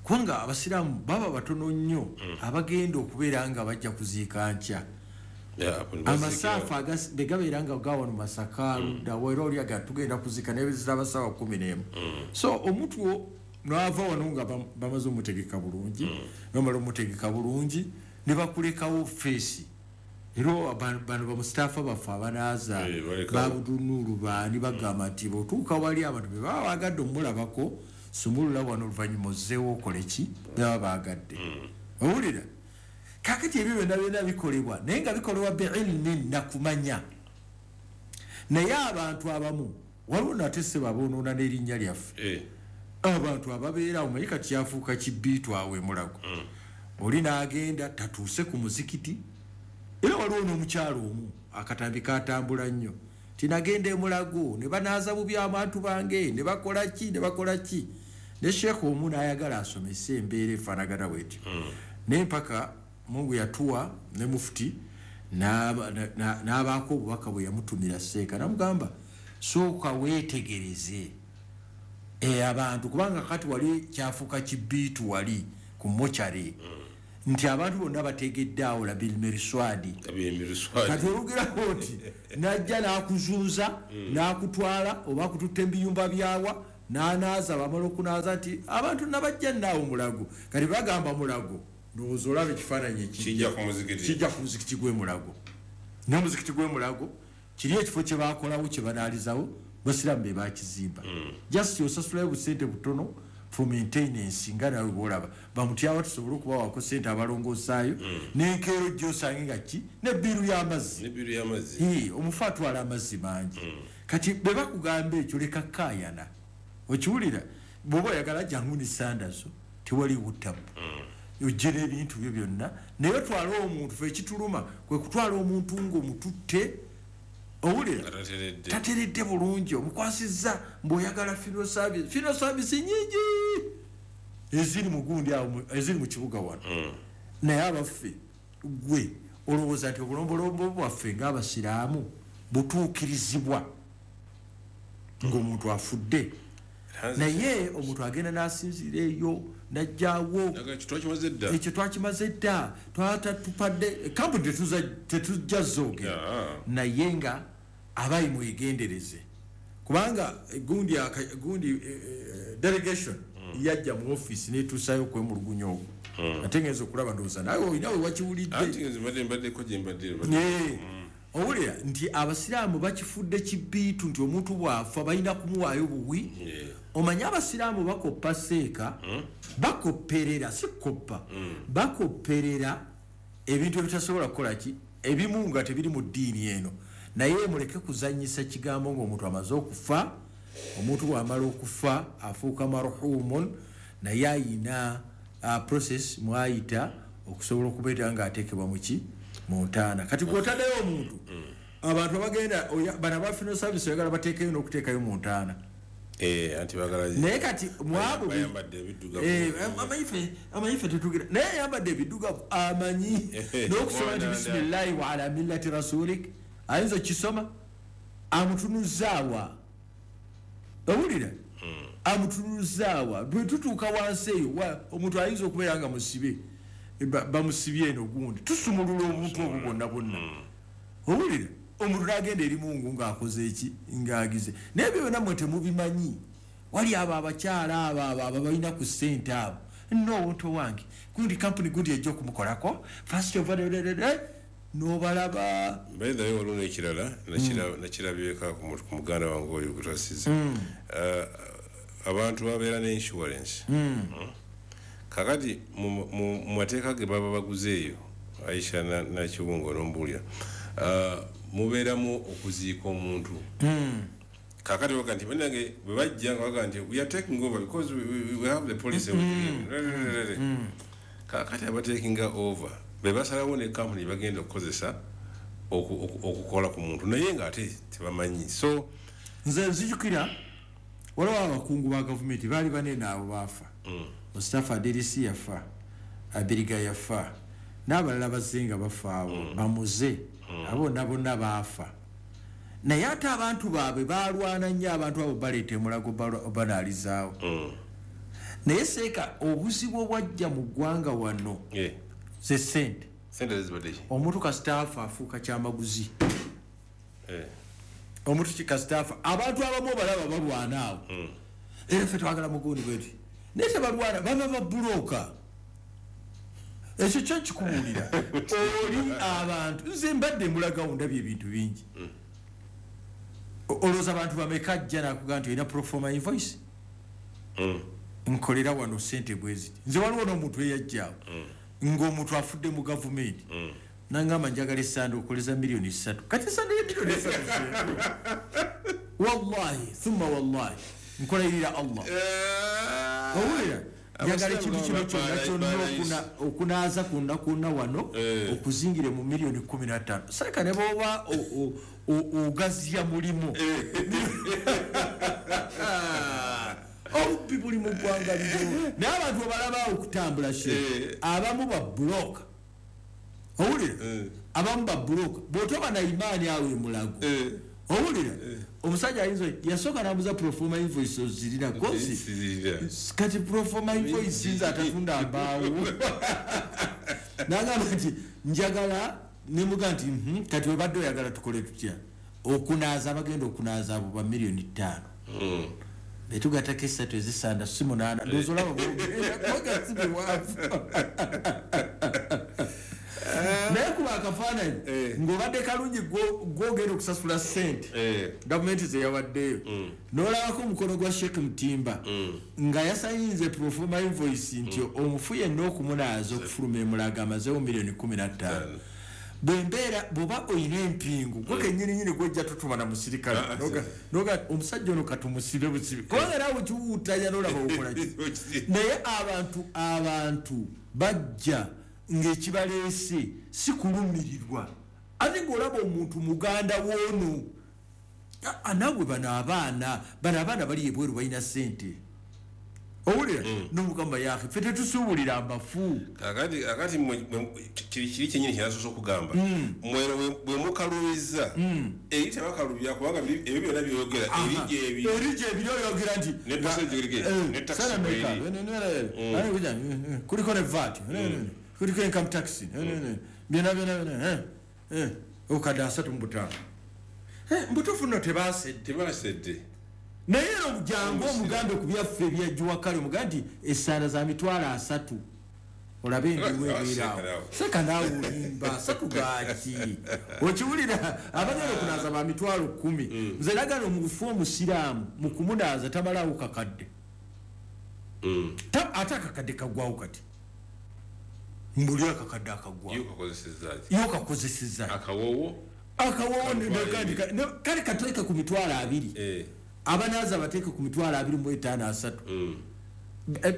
Kubanga abasiraamu baba batono nnyo abagenda okubeera nga bajja kuziika nkya. Amasaafu begabeera nga gawano Masaka ludda era oli aga tugenda kuziika naye ziraba ssaawa 11. So omuntu wo n'ava wano nga bamaze omutegeka bulungi, bamala omutegeka bulungi ne bakulekawo feesi. Era bano bamusitaafa baffe abanaaza babudunuulu baani bagamba nti bw'otuuka wali abantu be baba baagadde omulabako, sumulula wano oluvannyuma ozzeewo okole ki baba baagadde. Owulira kakati ebyo byonna byonna bikolebwa, naye nga bikolebwa biilmin nakumanya. Naye abantu abamu waliwo nate ssebo aboonoona n'erinnya lyaffe, abantu ababeera awo, manyi kati kyafuuka kibiitu awo emulago, oli n'agenda tatuuse ku muzikiti. Era waliwo n'omukyalo omu akatambi katambula nnyo, tinagenda emulago ne banaaza bubi abantu bange ne bakola ki ne bakola ki. Ne Sheikh omu n'ayagala asomese embeera efaanagana bwetyo, naye mpaka Mungu yatuwa ne mufuti n'abaako obubaka bwe yamutumira Seeka, namugamba sooka weetegereze abantu, kubanga kati wali kyafuuka kibiitu wali ku mochare. Nti abantu bonna bategedde awo Labil Meriswadi. Kati olugerawo nti najja n'akuzuuza n'akutwala oba akututte ebiyumba byawa n'anaaza, bamala okunaaza nti abantu nabajja naawo Mulago. Kati bagamba Mulago, ndowooza olaba ekifaananyi Kijja ku muzikiti. Kijja ku muzikiti gw'e Mulago. N'omuzikiti gw'e Mulago kiri ekifo kye baakolawo kye banaalizawo, basiraamu be bakizimba. Just osasulayo busente butono for maintenance, nga nawe bw'olaba bamutyawa tusobole okubawaako sente abalongoosaayo, n'enkeero gy'osange nga ki n'ebbiiru y'amazzi. N'ebbiiru y'amazzi. Omufu atwala amazzi mangi. Kati bwe bakugamba ekyo leka kaayana. Okiwulira? Bw'oba oyagala jangu ne sandazo, tewaliwo ttabu. Ojje n'ebintu byo byonna, naye otwale omuntu. Ffe ekituluma kwe kutwala omuntu ng'omututte, owulira? Nga tateredde. Tateredde bulungi, omukwasizza mbw'oyagala funeral service. Funeral service nyingi eziri mu gundi awo, eziri mu kibuga wano. Naye abaffe, gwe olowooza nti obulombolombo bwaffe ng'abasiraamu butuukirizibwa ng'omuntu afudde? Naye omuntu agenda n'asinziira eyo n'ajjaawo. Naga ekyo twakimaze dda. Ekyo twakimaze dda, twatatupadde kampuni tetujja zoogera. Naye nga abayi mwegendereze, kubanga gundi delegation yajja mu office netuusayo okwemulugunya okwo, ate ngenza okulaba ndowooza nawe olina we wakiwulidde. Anti nze mbaddeko gye mbadde. Owulira nti abasiraamu bakifudde kibiitu nti omuntu bw'afa balina kumuwaayo buwi. Omanye abasiraamu bakoppa seeka, bakopperera, si koppa, bakopperera ebintu ebitasobola kukola ki, ebimu nga tebiri mu ddiini eno. Naye muleke kuzannyisa kigambo ng'omuntu amaze okufa. Omuntu bw'amala okufa afuuka marhumun, naye ayina process mwayita okusobola okubeera ng'ateekebwa muki mu ntaana. Kati gw'otaddeyo omuntu, abantu abagenda bano aba funeral service oyagala bateekeyo n'okuteekayo mu ntaana. Anti bagala Naye kati mwabo bayambadde ebiddugavu. Amanyi ffe tetugira, naye ayambadde ebiddugavu amanyi n'okusoma nti bisimillahi wa ala millati rasulik, ayinza okisoma amutunuzaawa. Owulira? Amutunuzaawa. Bwe tutuuka wansi eyo, omuntu ayinza okubeera nga musibe, bamusibye eno gundi, tusumulula obuntu obwo bwonna bwonna. Owulira? Omuntu n'agenda eri Mungu ng'akoze eki, ng'agize. Naye ebyo byonna mmwe temubimanyi. Wali abo abakyala abo abo abo balina ku ssente abo, nno omuntu wange gundi kampuni gundi ejja okumukolako first of all, n'obalaba. By the way, waliwo n'ekirala nakirabyeko ku muganda wange oyo gwe twasize. Abantu babeera ne insurance. Kakati mu mateeka ge baba baguze eyo, Aisha Nakiwunga n'ombuulira, mubeeramu okuziika omuntu. Kakati baga nti bannange bwe bajja nga baga nti we are taking over because we have the policy. Kakati abatekinga over be basalawo ne kampuni bagenda okukozesa okukola ku muntu, naye ng'ate tebamanyi. So nze nzijukira waliwo abakungu ba gavumenti baali banene abo baafa. Mustafa Adirisi yafa, Abiriga yafa, n'abalala bazze nga bafa abo, bamuze abo bonna bonna baafa. Naye ate abantu baabwe balwana nnyo, abantu abo baleeta emulago banaalizaawo. Naye seeka obuzibu obwajja mu ggwanga wano ze ssente. Sente zibadde ki? Omuntu kasita afa afuuka kyamaguzi. Omuntu kasita afa, abantu abamu obalaba balwana awo, era ffe twagala mugundi bweti, naye tebalwana, baba babuloka. Ekyo kyo nkikubuulira oli abantu. Nze mbadde mulagawo, ndabye ebintu bingi. Olowooza abantu bameka ajja nakugaa nti olina proforma invoice, nkolera wano sente bweziti. Nze waliwo n'omuntu eyajjaawo ng'omuntu afudde mu gavumenti, nangamba njagala esande okoleza miliyoni 3. Kati esande ye miliyoni 3, wallahi thumma wallahi, nkolayirira Allah. Owulira? Njagala ekintu kino kyonna kyonna okunaaza kwonna kwonna wano okuzingire mu miliyoni 15. Sareka ne bwoba ogaziya mulimu, obubbi buli mu ggwanga lino. Naye abantu obalabaawo okutambula she, abamu babuloka. Owulira? Abamu babuloka. Bw'otoba na imaani awo emulago, owulira? Omusajja ayinza yasooka nambuza proforma invoice ozirina kosi. Sizirina. Kati proforma invoice nze atatunda mbaawo. Nagamba nti njagala nemuga nti kati webadde oyagala tukole tutya? Okunaaza abagenda okunaaza abo ba 5 million. Betugatako esatu ezisanda si munaana, ndowooza olaba bwogenda si biwanvu. Naye kuba akafaananyi ng'obadde kalungi, gwogenda okusasula ssente gavumenti zeyawaddeyo, n'olabako omukono gwa Sheikh Mutimba nga yasayinze proforma invoice nti omufu yenna okumunaaza okufuluma emulaga amazeewo miliyoni 15. Bwembeera bw'oba oyina empingu gwe kennyininyini gwejja tutuma na musirikale. Noga omusajja ono katumusibe busibe, kubanga naawe kiwuutanya n'olaba okolaki. Naye abantu bajja ng'ekibaleese si kulumirirwa, ate ng'olaba omuntu muganda woono. Naawe bano abaana bali ebweru balina ssente, owulira nomugamba yake ffe tetusuubulira abafu. Kakati kiri kyenyini kyenasoose okugamba, mwero bwe mukalubiza eri tebakalubya, kubanga ebyo byonna byoyogera eri gyebiri. Eri gyebiri, oyogera nti Ne percentage ne tax Sana bweri. Meka, ne, kuja, kuliko ne VAT, kuliko income tax, byonna byonna byonna, obukadde 35. Mbutuufu nno tebasedde. Tebasedde. Naye era jangu omugambe ku byaffe ebyajjuwa kale, omugambe nti essaala za 30,000, olabe endiwo ebeeraawo. Seka naawe. Seka naawe, olimba. Asatu gaaki? Okiwulira, abagenda okunaaza ba 10,000. Nze nagala omufu omusiraamu mu kumunaaza tamalaawo kakadde. Ate akakadde kaggwawo kati, mbuli akakadde akaggwawo. Yo kakozesezza ki? Yo kakozesezza. Akawoowo. Akawoowo. Kamitwalo ebiri. Kale kateeke ku 20,000. Abanaaza bateeke ku 25,000, 30,000.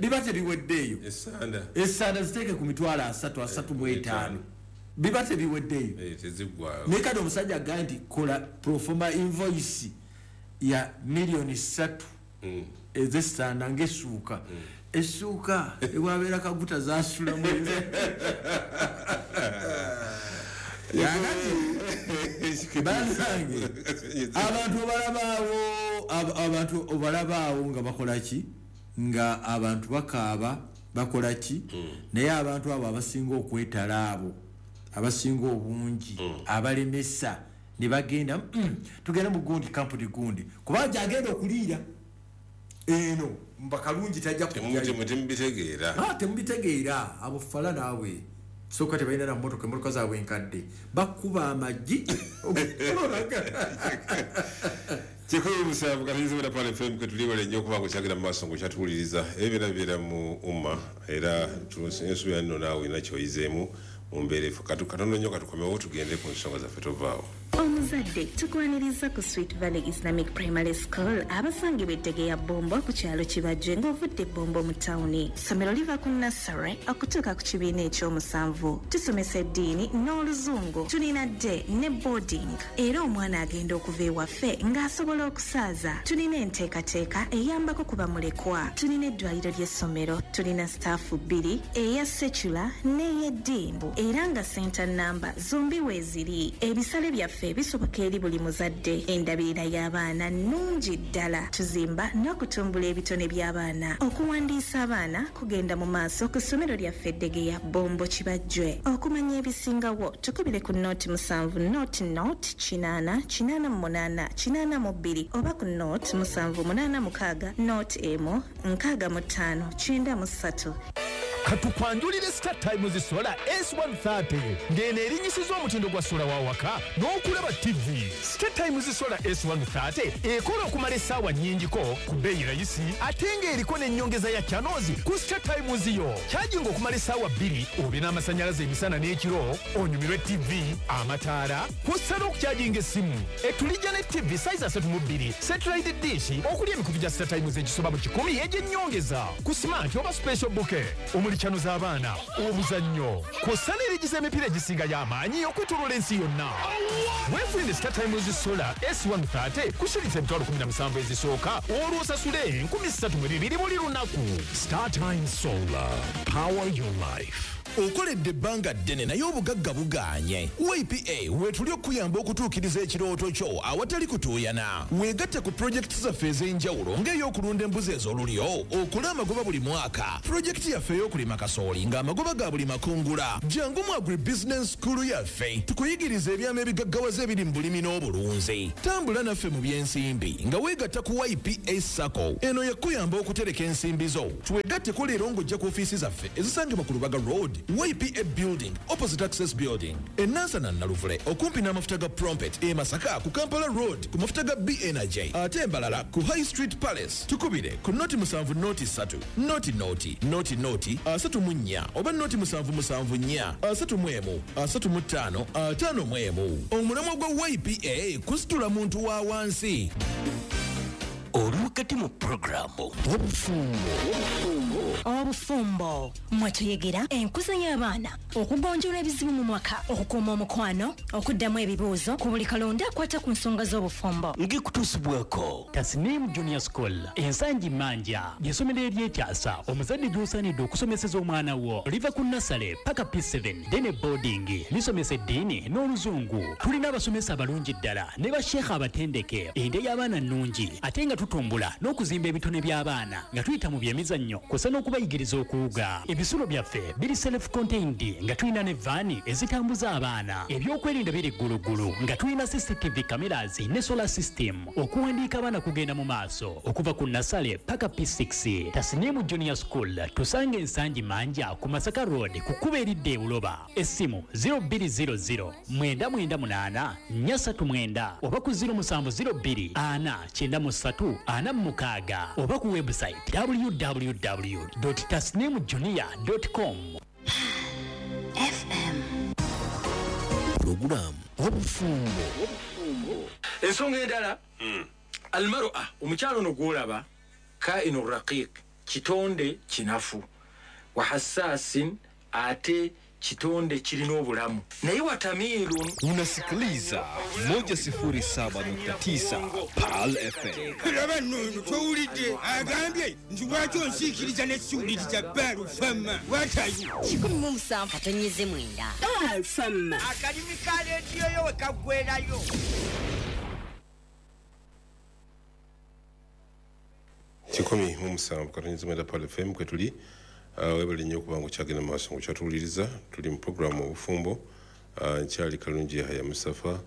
Biba tebiweddeeyo. Esanda. Esanda ziteeke ku 30,000, 35,000, biba tebiweddeeyo. Teziggwayo. Naye kati omusajja agambye nti kola proforma invoice ya miliyoni 3 ezesanda ngaessuuka essuuka ewabeera kaguta zasulamu. Kakati banange, abantu obalabaawo, abantu obalabaawo nga bakola ki, nga abantu bakaaba bakola ki, naye abantu abo abasinga okwetala, abo abasinga obungi abalemesa ne bagenda, tugende mu gundi kampuni gundi, kubanga gyagenda okuliira eno mbakalungi tajja kujjayo. Temubitegeera. Ah, temubitegeera. Abo fala naawe sooka tebalina na motoka, emotoka zaabwe enkadde, bakuba amagi. 17 katuyizibwa Pal FM kwe nnyo okuba nga okyagenda mu maaso ngaokyatuwuliriza. Ebyo byonna bibeera mu umma, era ensuubira nno naawe olina kyoyizeemu mu mbeera efu. Katono nnyo katukomewo tugende ku nsonga zaffe, tovaawo. Omuzadde, tukwaniriza ku Sweet Valley Islamic Primary School abasangibwa eddege ya Bombo ku kyalo Kibajje ng'ovudde Bombo mu tawuni. Ssomero liva ku nursery okutuuka ku kibiina ekyomusanvu. Tusomesa eddiini n'oluzungu. Tulina day ne boarding, era omwana agenda okuva ewaffe ng'asobola okusaaza. Tulina enteekateeka eyambako ku bamulekwa. Tulina eddwaliro ly'essomero. Tulina staff bbiri, eya secular n'ey'eddiini, era nga center namba zombi weeziri. Ebisale byaffe bisoboka eri buli muzadde. Endabirira y'abaana nnungi ddala. Tuzimba n'okutumbula ebitone by'abaana. Okuwandiisa abaana kugenda mu maaso ku ssomero lyaffe Eddegeya, Bombo, Kibajjwe. Okumanya ebisingawo tukubire ku 070 00 80 88 82 oba ku 0786 01 65 93. Katukwanjulire Star Times Solar S130, ng'eno erinyisiza omutindo gwa solar wa waka n'okulaba TV. Star Times Solar S130 ekola okumala essaawa nnyingiko ku bbeeyi rayisi, ate ng'eriko n'ennyongeza ya channels ku Star Times yo. Kyajinga okumala essaawa 2 obe n'amasannyalaze emisana n'ekiro, onyumirwe TV, amataala, kw'ossa n'okukyajinga essimu. Etulijja ne TV size 32, satellite dish okuli emikutu gya Star Times egisoba mu 100 egy'ennyongeza ku smart oba special bouquet omuli channel z'abaana, obuzannyo, kw'ossa n'erigiza emipiira egisinga y'amaanyi okwetoloola ensi yonna. Weefunire Star Times Solar S130 ku shilingi 17,000 ezisooka, olwo osasule 3,200 buli lunaku. Star Times Solar. Power your life. Okoledde ebbanga ddene naye obugagga bugaanye. YPA weetuli okukuyamba okutuukiriza ekirooto kyo awatali kutuuyana. Weegatte ku pulojekiti zaffe ez'enjawulo ng'ey'okulunda embuzi ez'olulyo, okole amagoba buli mwaka. Pulojekiti yaffe ey'okulima kasooli ng'amagoba ga buli makungula. Jangu mu Agribusiness School yaffe tukuyigirize ebyama ebigaggawaza ebiri mu bulimi n'obulunzi. Tambula naffe mu by'ensimbi nga weegatta ku YPA SACCO. Eno yakuyamba okutereka ensimbi zo. Twegatteko leero ng'ojja ku ofiisi zaffe ezisangibwa ku Lubaga Road, YPA Building, opposite Access Building, e Nansana Naluvule okumpi n'amafuta ga Prompet, e Masaka ku Kampala Road ku mafuta ga B Energy, ate Mbarara ku High Street Palace. Tukubire ku 0 7 0 3 0 0 0 0 34 oba 0 7 7 4 31 35 51. Omulamwa gwa YPA kusitula muntu wa wansi. Oli wakati mu puroguramu Obufumbo, mwe tuyigera enkuza y'abaana, okugonjoola ebizibu mu mwaka, okukuuma omukwano, okuddamu ebibuuzo ku buli kalonda akwata ku nsonga z'obufumbo. Ng'ekutuusibwako Tasnim Junior School, Ensangi Manja, ly'essomero eryekyasa omuzadde gy'osaanidde okusomeseza omwana wo. Liva ku nursery paka P7, then boarding. Lisomesa eddiini n'Oluzungu. Tulina abasomesa abalungi ddala ne basheekha abatendeke. Endya y'abaana nnungi, ate nga tutumbula n'okuzimba ebitone by'abaana nga tuyita mu byemizannyo kw'ossa n'okubayigiriza okuwuga. Ebisulo byaffe biri self contained nga tulina ne vaani ezitambuza abaana. Ebyokwerinda biri gguluggulu nga tulina CCTV cameras ne solar system. Okuwandiika abaana kugenda mu maaso okuva ku nursery paka P6. Tasnimu Junior School, tusange Ensangi Manja ku Masaka Road, ku kkubo eridda e Buloba. Essimu 0200 998 439 oba ku 0702 493 46 oba ku website www tasnimjunior com. FM. Puroguramu Obufumbo. Ensonga endala, almar'a, omukyalo ono gwolaba, kainu raqiq, kitonde kinafu, wa hassasin, ate kitonde kirina obulamu, naye watamiirun. Unasikiliza 107.9 Pearl FM. Laba nno, towulidde agambye nti lwaki onsiikiriza nesiwuliriza Baalufama watayo? 107.9 Alfama. Akalimi ka leediyo yo we kaggwerayo. 107.9 Pearl FM kwe tuli. Webale nnyo okuba nga okyagenda mu maaso ng'okyatuwuliriza. Tuli mu puroguramu Obufumbo. Nkyali Kalungi Yahaya Mustafa.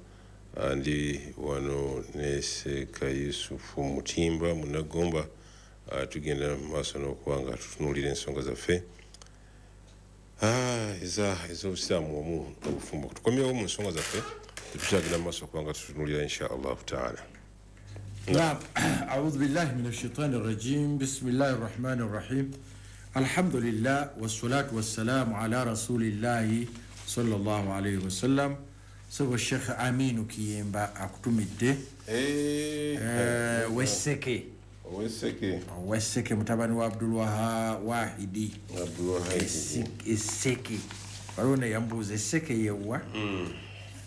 Ndi wano ne Seeka Yusufu Mutimba Munagomba. Tugenda mu maaso n'okuba nga tutunuulira ensonga zaffe ez'obusiraamu omu obufumbo. Tukomyewo mu nsonga zaffe, tetukyagenda mu maaso okuba nga tutunuulira, insha Allahu taala. نعم، أعوذ بالله من الشيطان الرجيم، بسم الله الرحمن الرحيم، الحمد لله والصلاة والسلام على رسول الله صلى الله عليه وسلم. Sebo Sheikh Aminu Kiyemba akutumidde. Weseke. Oweseke. Weseke mutabani wa Abdulwaha Wahidi. Abdulwahidi. Eseke, waliwo neyambuuza eseke yewa,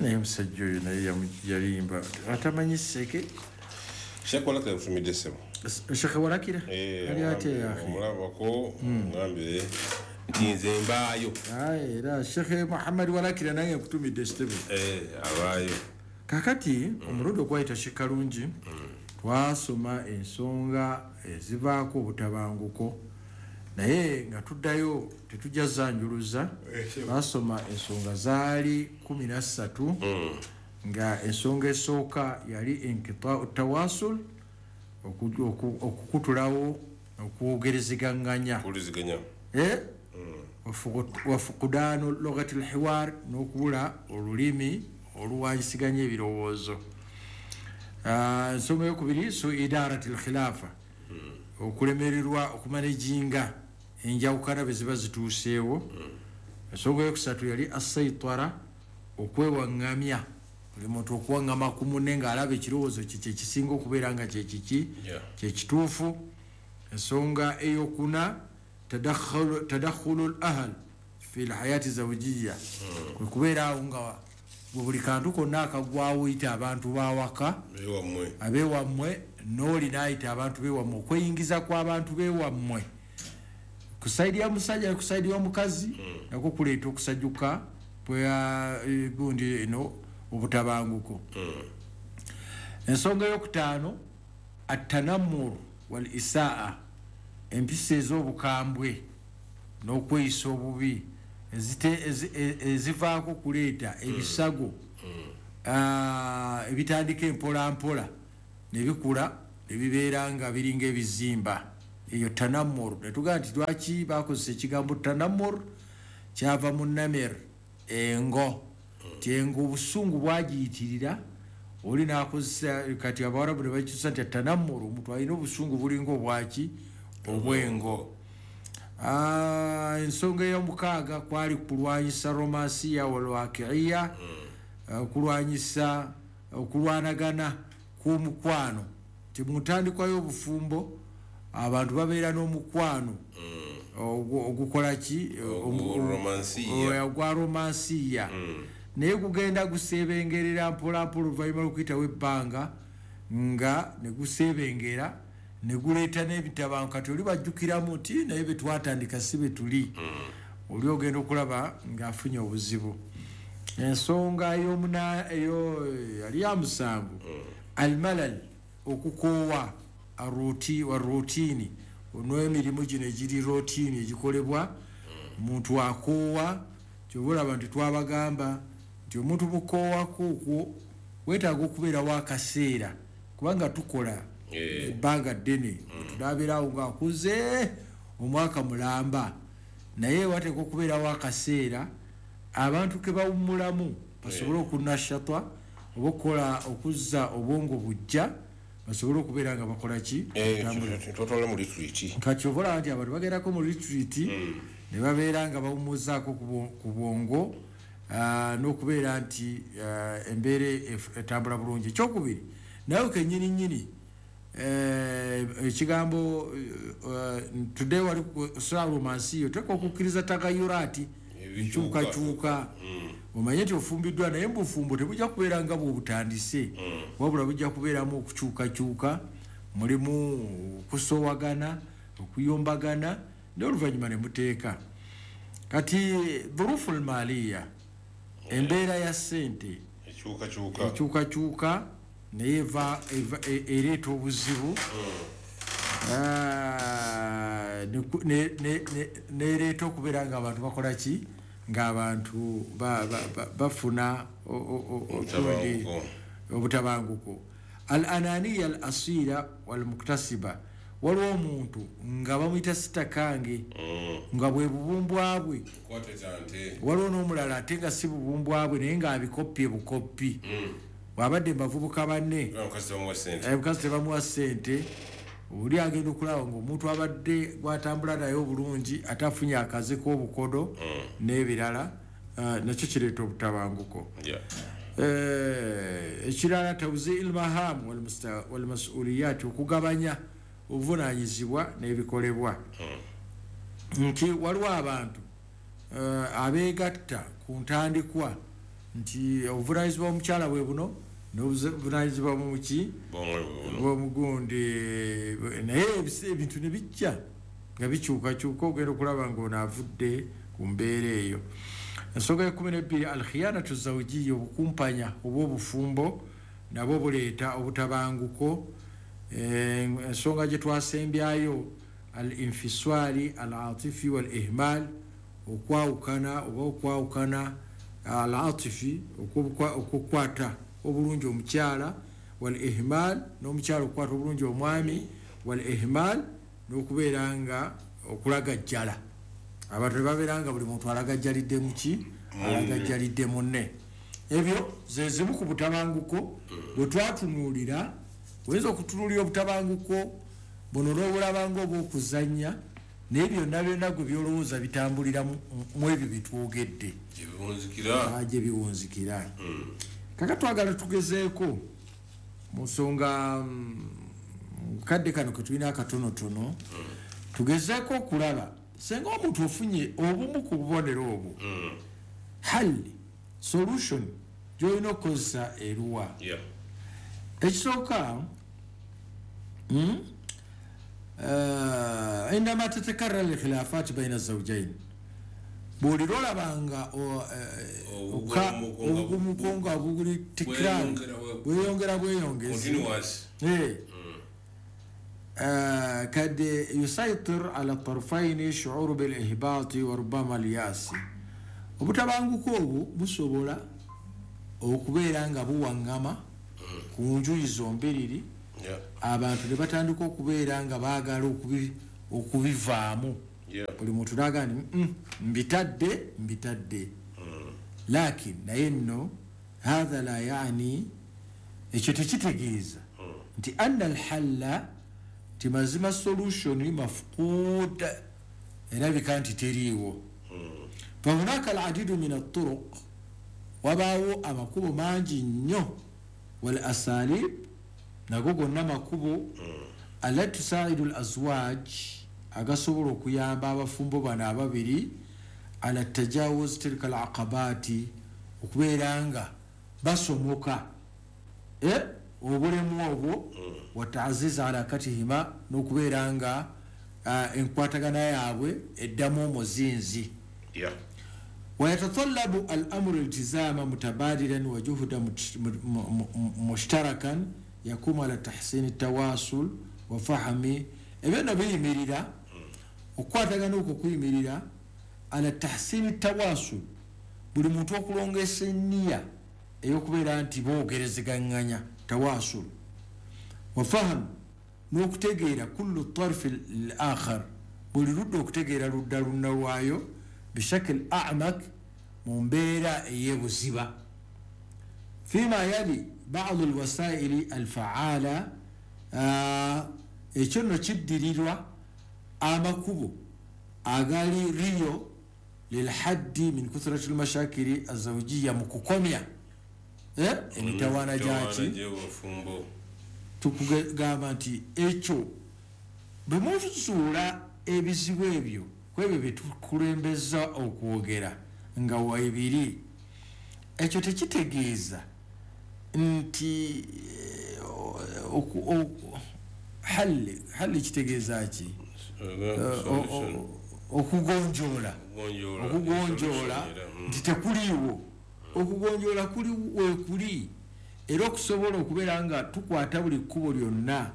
naye omusajja oyo naye yalimba atamanyi seke. Sheikh Walakira akutumidde, ssebo. Sheikh Walakira ali atya yahe? Omulabako, ngambire nti nze mbaayo. Aye, era Sheikh Muhammad Walakira naye nkutumidde, ssebo. Abaayo. Kakati omulundi ogwayita, Sheikh Kalungi, twasoma ensonga ezivaako obutabanguko, naye nga tuddayo tetujja zanjuluza. Twasoma ensonga zaali 13, nga ensonga esooka yali inkitau tawasul, okukutulawo okwogerezeganganya. Kuwuliziganya. Eh? Wafukudaanu lugati lhiwar, n'okubula olulimi oluwanyisiganya ebirowoozo. Ensonga eyokubiri, su idarati lkhilafa, okulemererwa okumanejinga enjawukana bwe ziba zituuseewo. Ensonga eyokusatu yali assaitara, okwewaŋŋamya, buli muntu okuwaŋŋama ku munne ng'alaba ekirowoozo kye kyekisinga okubeera nga kyekiki kyekituufu. Ensonga eyokuna, tadakhulu l ahl fi lhayati zawjiya, kwe kubeera awo nga bwe buli kantu konna akagwawo oyita abantu bawaka, Bewammwe. Abewammwe, n'oli n'ayita abantu bewammwe, okweyingiza kw'abantu bewammwe. Ku side ya musajja ku side y'omukazi nako kuleeta okusajjuka bwa gundi eno obutabanguko. Ensonga eyokutaano, atanammur wal isaa, empisa ez'obukambwe n'okweyisa obubi ezivaako kuleeta ebisago ebitandika empolampola ne bikula ne bibeera nga biringa ebizimba. Eyo tanammur. Ne tugamba nti lwaki bakozesa ekigambo tanammur, kyava mu namir, engo. Nti engo obusungu bwagiyitirira, oli n'akozesa kati Abawarabu ne bakyusa nti tanammur, omuntu alina obusungu bulinga obwaki, obw'engo. Ensonga ey'omukaaga kwali kulwanyisa romansiya walwakiiya, okulwanyisa okulwanagana kw'omukwano. Nti mu ntandikwa y'obufumbo abantu babeera n'omukwano ogukola ki, ogwa romansiya, naye gugenda guseebengerera mpolampola oluvannyuma lw'okuyitawo ebbanga nga ne guseebengera ne guleeta n'ebitabanguko. Kati oli bajjukiramu nti naye be twatandika si be tuli, oli ogenda okulaba ng'afunye obuzibu. Ensonga eyo yali ya musanvu, almalal, okukoowa wa routine, n'emirimu gino egiri routine egikolebwa omuntu akoowa. Kyova olaba nti twabagamba nti omuntu mukoowako okwo weetaaga okubeerawo akaseera, kubanga tukola ebbanga ddene, tunabeerawo ng'akuze omwaka mulamba, naye wateeka okubeerawo akaseera abantu ke bawummulamu basobole okunashatwa oba okukola okuzza obwongo bujja, basobole okubeera nga bakola ki, Totwala mu retreat. Kati oba olaba nti abantu bagendako mu retreat ne babeera nga bawummuzaako ku bwongo, n'okubeera nti embeera etambula bulungi. Ekyokubiri, nawe kennyini nnyini, ekigambo today wali romansiyo, oteeka okukkiriza tagayurati, enkyukakyuka. Omanye nti ofumbiddwa, naye mubufumbo tebujja kubeera nga bwobutandise, wabula bujja kubeeramu okukyukakyuka, mulimu okusowagana, okuyombagana, naye oluvannyuma ne muteeka. Kati dhurufu lmaliya, embeera ya ssente ekyukakyuka, ekyukakyuka, naye ereeta obuzibu. Nereeta okubeera nga abantu bakola ki, ng'abantu bafuna Obutabanguko. Obutabanguko. Al ananiya al asira walmuktasiba, waliwo omuntu nga bamuyita sitakange, nga bwe bubumbwa bwe. Kwata kyante. Waliwo n'omulala ate nga si bubumbwa bwe, naye ng'abikoppye bukoppi, bw'abadde mubavubuka banne, Omukazi bamuwa sente. Omukazi tebamuwa ssente. Oli agenda okulaba ngaomuntu abadde gwatambula naye obulungi ate afunye akaze k'obukodo n'ebirala, nakyo kireeta obutabanguko. Ekirala, tawzi ilmaham walmasuliyat, okugabanya obuvunanyizibwa n'ebikolebwa, nti waliwo abantu abeegatta ku ntandikwa nti obuvunanyizibwa omukyala bwe buno n'obuvunanyizibwa muki bwomugundi, naye ebintu ne bijja nga bikyukakyuka, ogenda okulaba nga ono avudde ku mbeera eyo. Ensonga ye12, alkhiyanatu zawjiya, obukumpanya oba obufumbo nabwo buleeta obutabanguko. Ensonga gye twasembyayo, al infiswali al atifi wal ihmal, okwawukana oba okwawukana al atifi, okukwata obulungi omukyala, wal ihmal, n'omukyala okukwata obulungi omwami, wal ihmal, n'okubeera nga okulagajjala, abantu ne babeera nga buli muntu alagajjalidde muki, alagajjalidde munne. Ebyo ze zimu ku butabanguko bwe twatunuulira. Oyinza okutunuulira obutabanguko buno n'obulaba nga obwokuzannya, naye byonna byonna gwe byolowooza bitambulira mu ebyo byetwogedde. Gyebiwunzikira. Gye biwunzikira. Kaka twagala tugezeeko mu nsonga kadde kano ketulina akatonotono, tugezeeko okulaba senga omuntu ofunye obumu ku bubonero obwo, halli solution gyolina okukozesa eruwa? Ekisooka, عندما تتكرر الخلافات بين الزوجين buli lwolabanga obugumuko nga buli tikrari bweyongera bweyongezi قد يسيطر على الطرفين شعور بالإهباط وربما اليأس. Obutabanguko obwo busobola okubeera nga buwangama ku njuyi zombiriri, abantu ne batandika okubeera nga baagala okubivaamu. Buli muntu n'agamba nti mbitadde mbitadde, lakin naye nno hatha la yani, ekyo tekitegeeza nti anna alhalla, nti mazima solution mafqud, erabika nti teriiwo. Fahunaka aladidu min alturuq, wabaawo amakubo mangi nnyo, wal asalib, nago gonna makubo, allati tusaidu al azwaj, agasobola okuyamba abafumbo bano ababiri, ala tajawuz tilka al aqabati, okubeera nga basomoka obulemu obwo, wataaziza alakatihima, n'okubeera nga enkwatagana yaabwe eddamu omuzinzi. ويتطلب الأمر التزاما متبادلا وجهدا مشتركا يقوم على تحسين التواصل وفهم ebyo biyimirira okukwatagana okwo kuyimirira ala tahsini tawasul, buli muntu okulongesa enniya ey'okubeera nti boogerezeganganya tawasul, wafahamu n'okutegeera kullu tarfi l akhar, buli ludda okutegeera ludda lunna lwayo bishakil amak, mu mbeera ey'ebuziba. Fima yali badu lwasaili alfaala, ekyo nno kiddirirwa amakubo agali riyo lilhaddi min kuthrati lmashakili azawjiya, mu kukomya emitawaana gyaki. Tukugamba nti ekyo bwe muzuula ebizibu ebyo kwebyo bye tukulembeza okwogera nga waibiri, ekyo tekitegeeza nti halli kitegeeza ki? Okugonjoola, okugonjoola nti tekuliiwo, okugonjoola kuli weekuli, era okusobola okubeera nga tukwata buli kkubo lyonna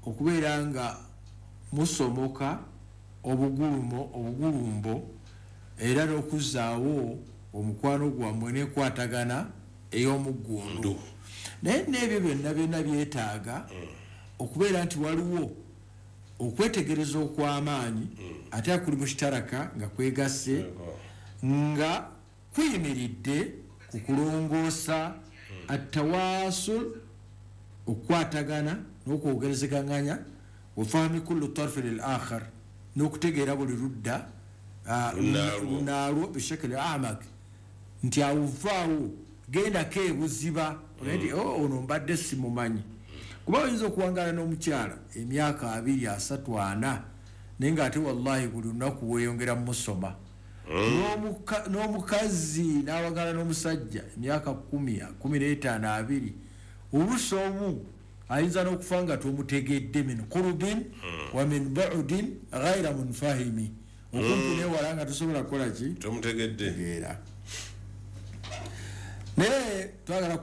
okubeera nga musomoka obugulumo obugulumbo, era n'okuzzaawo omukwano gwammwe n'enkwatagana ey'omuggundu. Naye n'ebyo byonna byonna byetaaga okubeera nti waliwo okwetegereza okw'amaanyi, ate akuli mushitaraka nga kwegasse, nga kuyimiridde ku kulongoosa atawasul, okukwatagana n'okwogerezeganganya, wafahami kullu tarfi lil akhar, n'okutegeera buli ludda lunaalwo bishakili amak, nti awuvaawo gendako ebuziba nti ono mbadde simumanyi. Kuba oyinza okuwangaala n'omukyala emyaka 2, 3, 4, naye ng'ate wallahi buli lunaku weeyongera musoma. N'omukazi n'awangala n'omusajja emyaka 10, 15, 20, oluusi omu ayinza n'okufa nga tomutegedde, min qurubin wa min bu'din ghayra munfahimi, okumpi newala nga tosobola kukola ki, tomutegedde. Naye twagala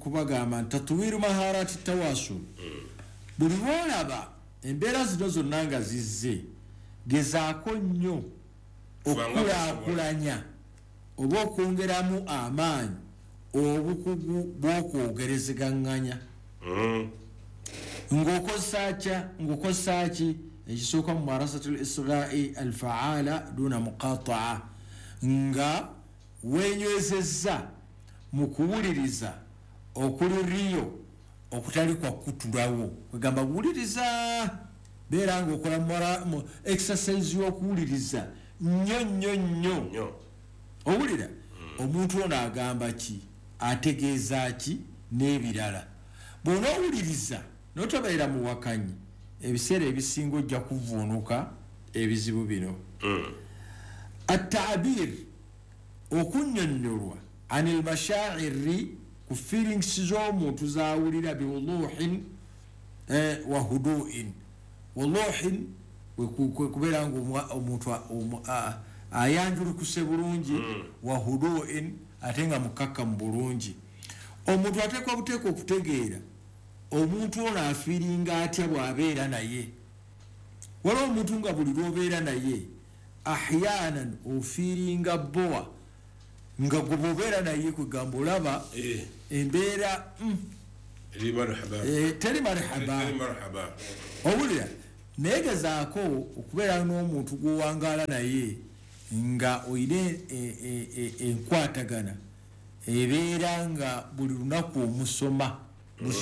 kubagamba nti tatwiru maharati tawasul, buli lwolaba embeera zino zonna nga zizze, gezaako nnyo okukulaakulanya oba okwongeramu amaanyi obukugu bw'okwogerezeganganya. Ng'okozesa ki? Ekisooka mu marasatul israi alfaala duna muqataa, nga weenywezezza mu kuwuliriza okuli riyo okutali kwa kutulawo, kwegamba wuliriza, beera ng'okola exercise y'okuwuliriza nnyo nnyo nnyo. Owulira omuntu ono agamba ki, ategeeza ki, n'ebirala. Bw'onoowuliriza n'otobeera muwakanyi, ebiseera ebisinga ojja kuvuunuka ebizibu bino. Attaabir, okunnyonnyolwa anil mashaa'iri, ku feelings z'omuntu z'awulira, biwuduhin wa huduin, Waluhin kwe kubeera nga omuntu ayanjulukuse bulungi, wa huduin, ate nga mukakkamu bulungi. Omuntu ateekwa buteeka okutegeera omuntu ono afiiringa atya bw'abeera naye. Waliwo omuntu nga buli lw'obeera naye ahyanan ofiiringa bowa, nga gwe bw'obeera naye kwegamba olaba embeera teri marhaba, owulira. Naye gezaako okubeera n'omuntu gw'owangaala naye nga oyina enkwatagana ebeera nga buli lunaku omusoma.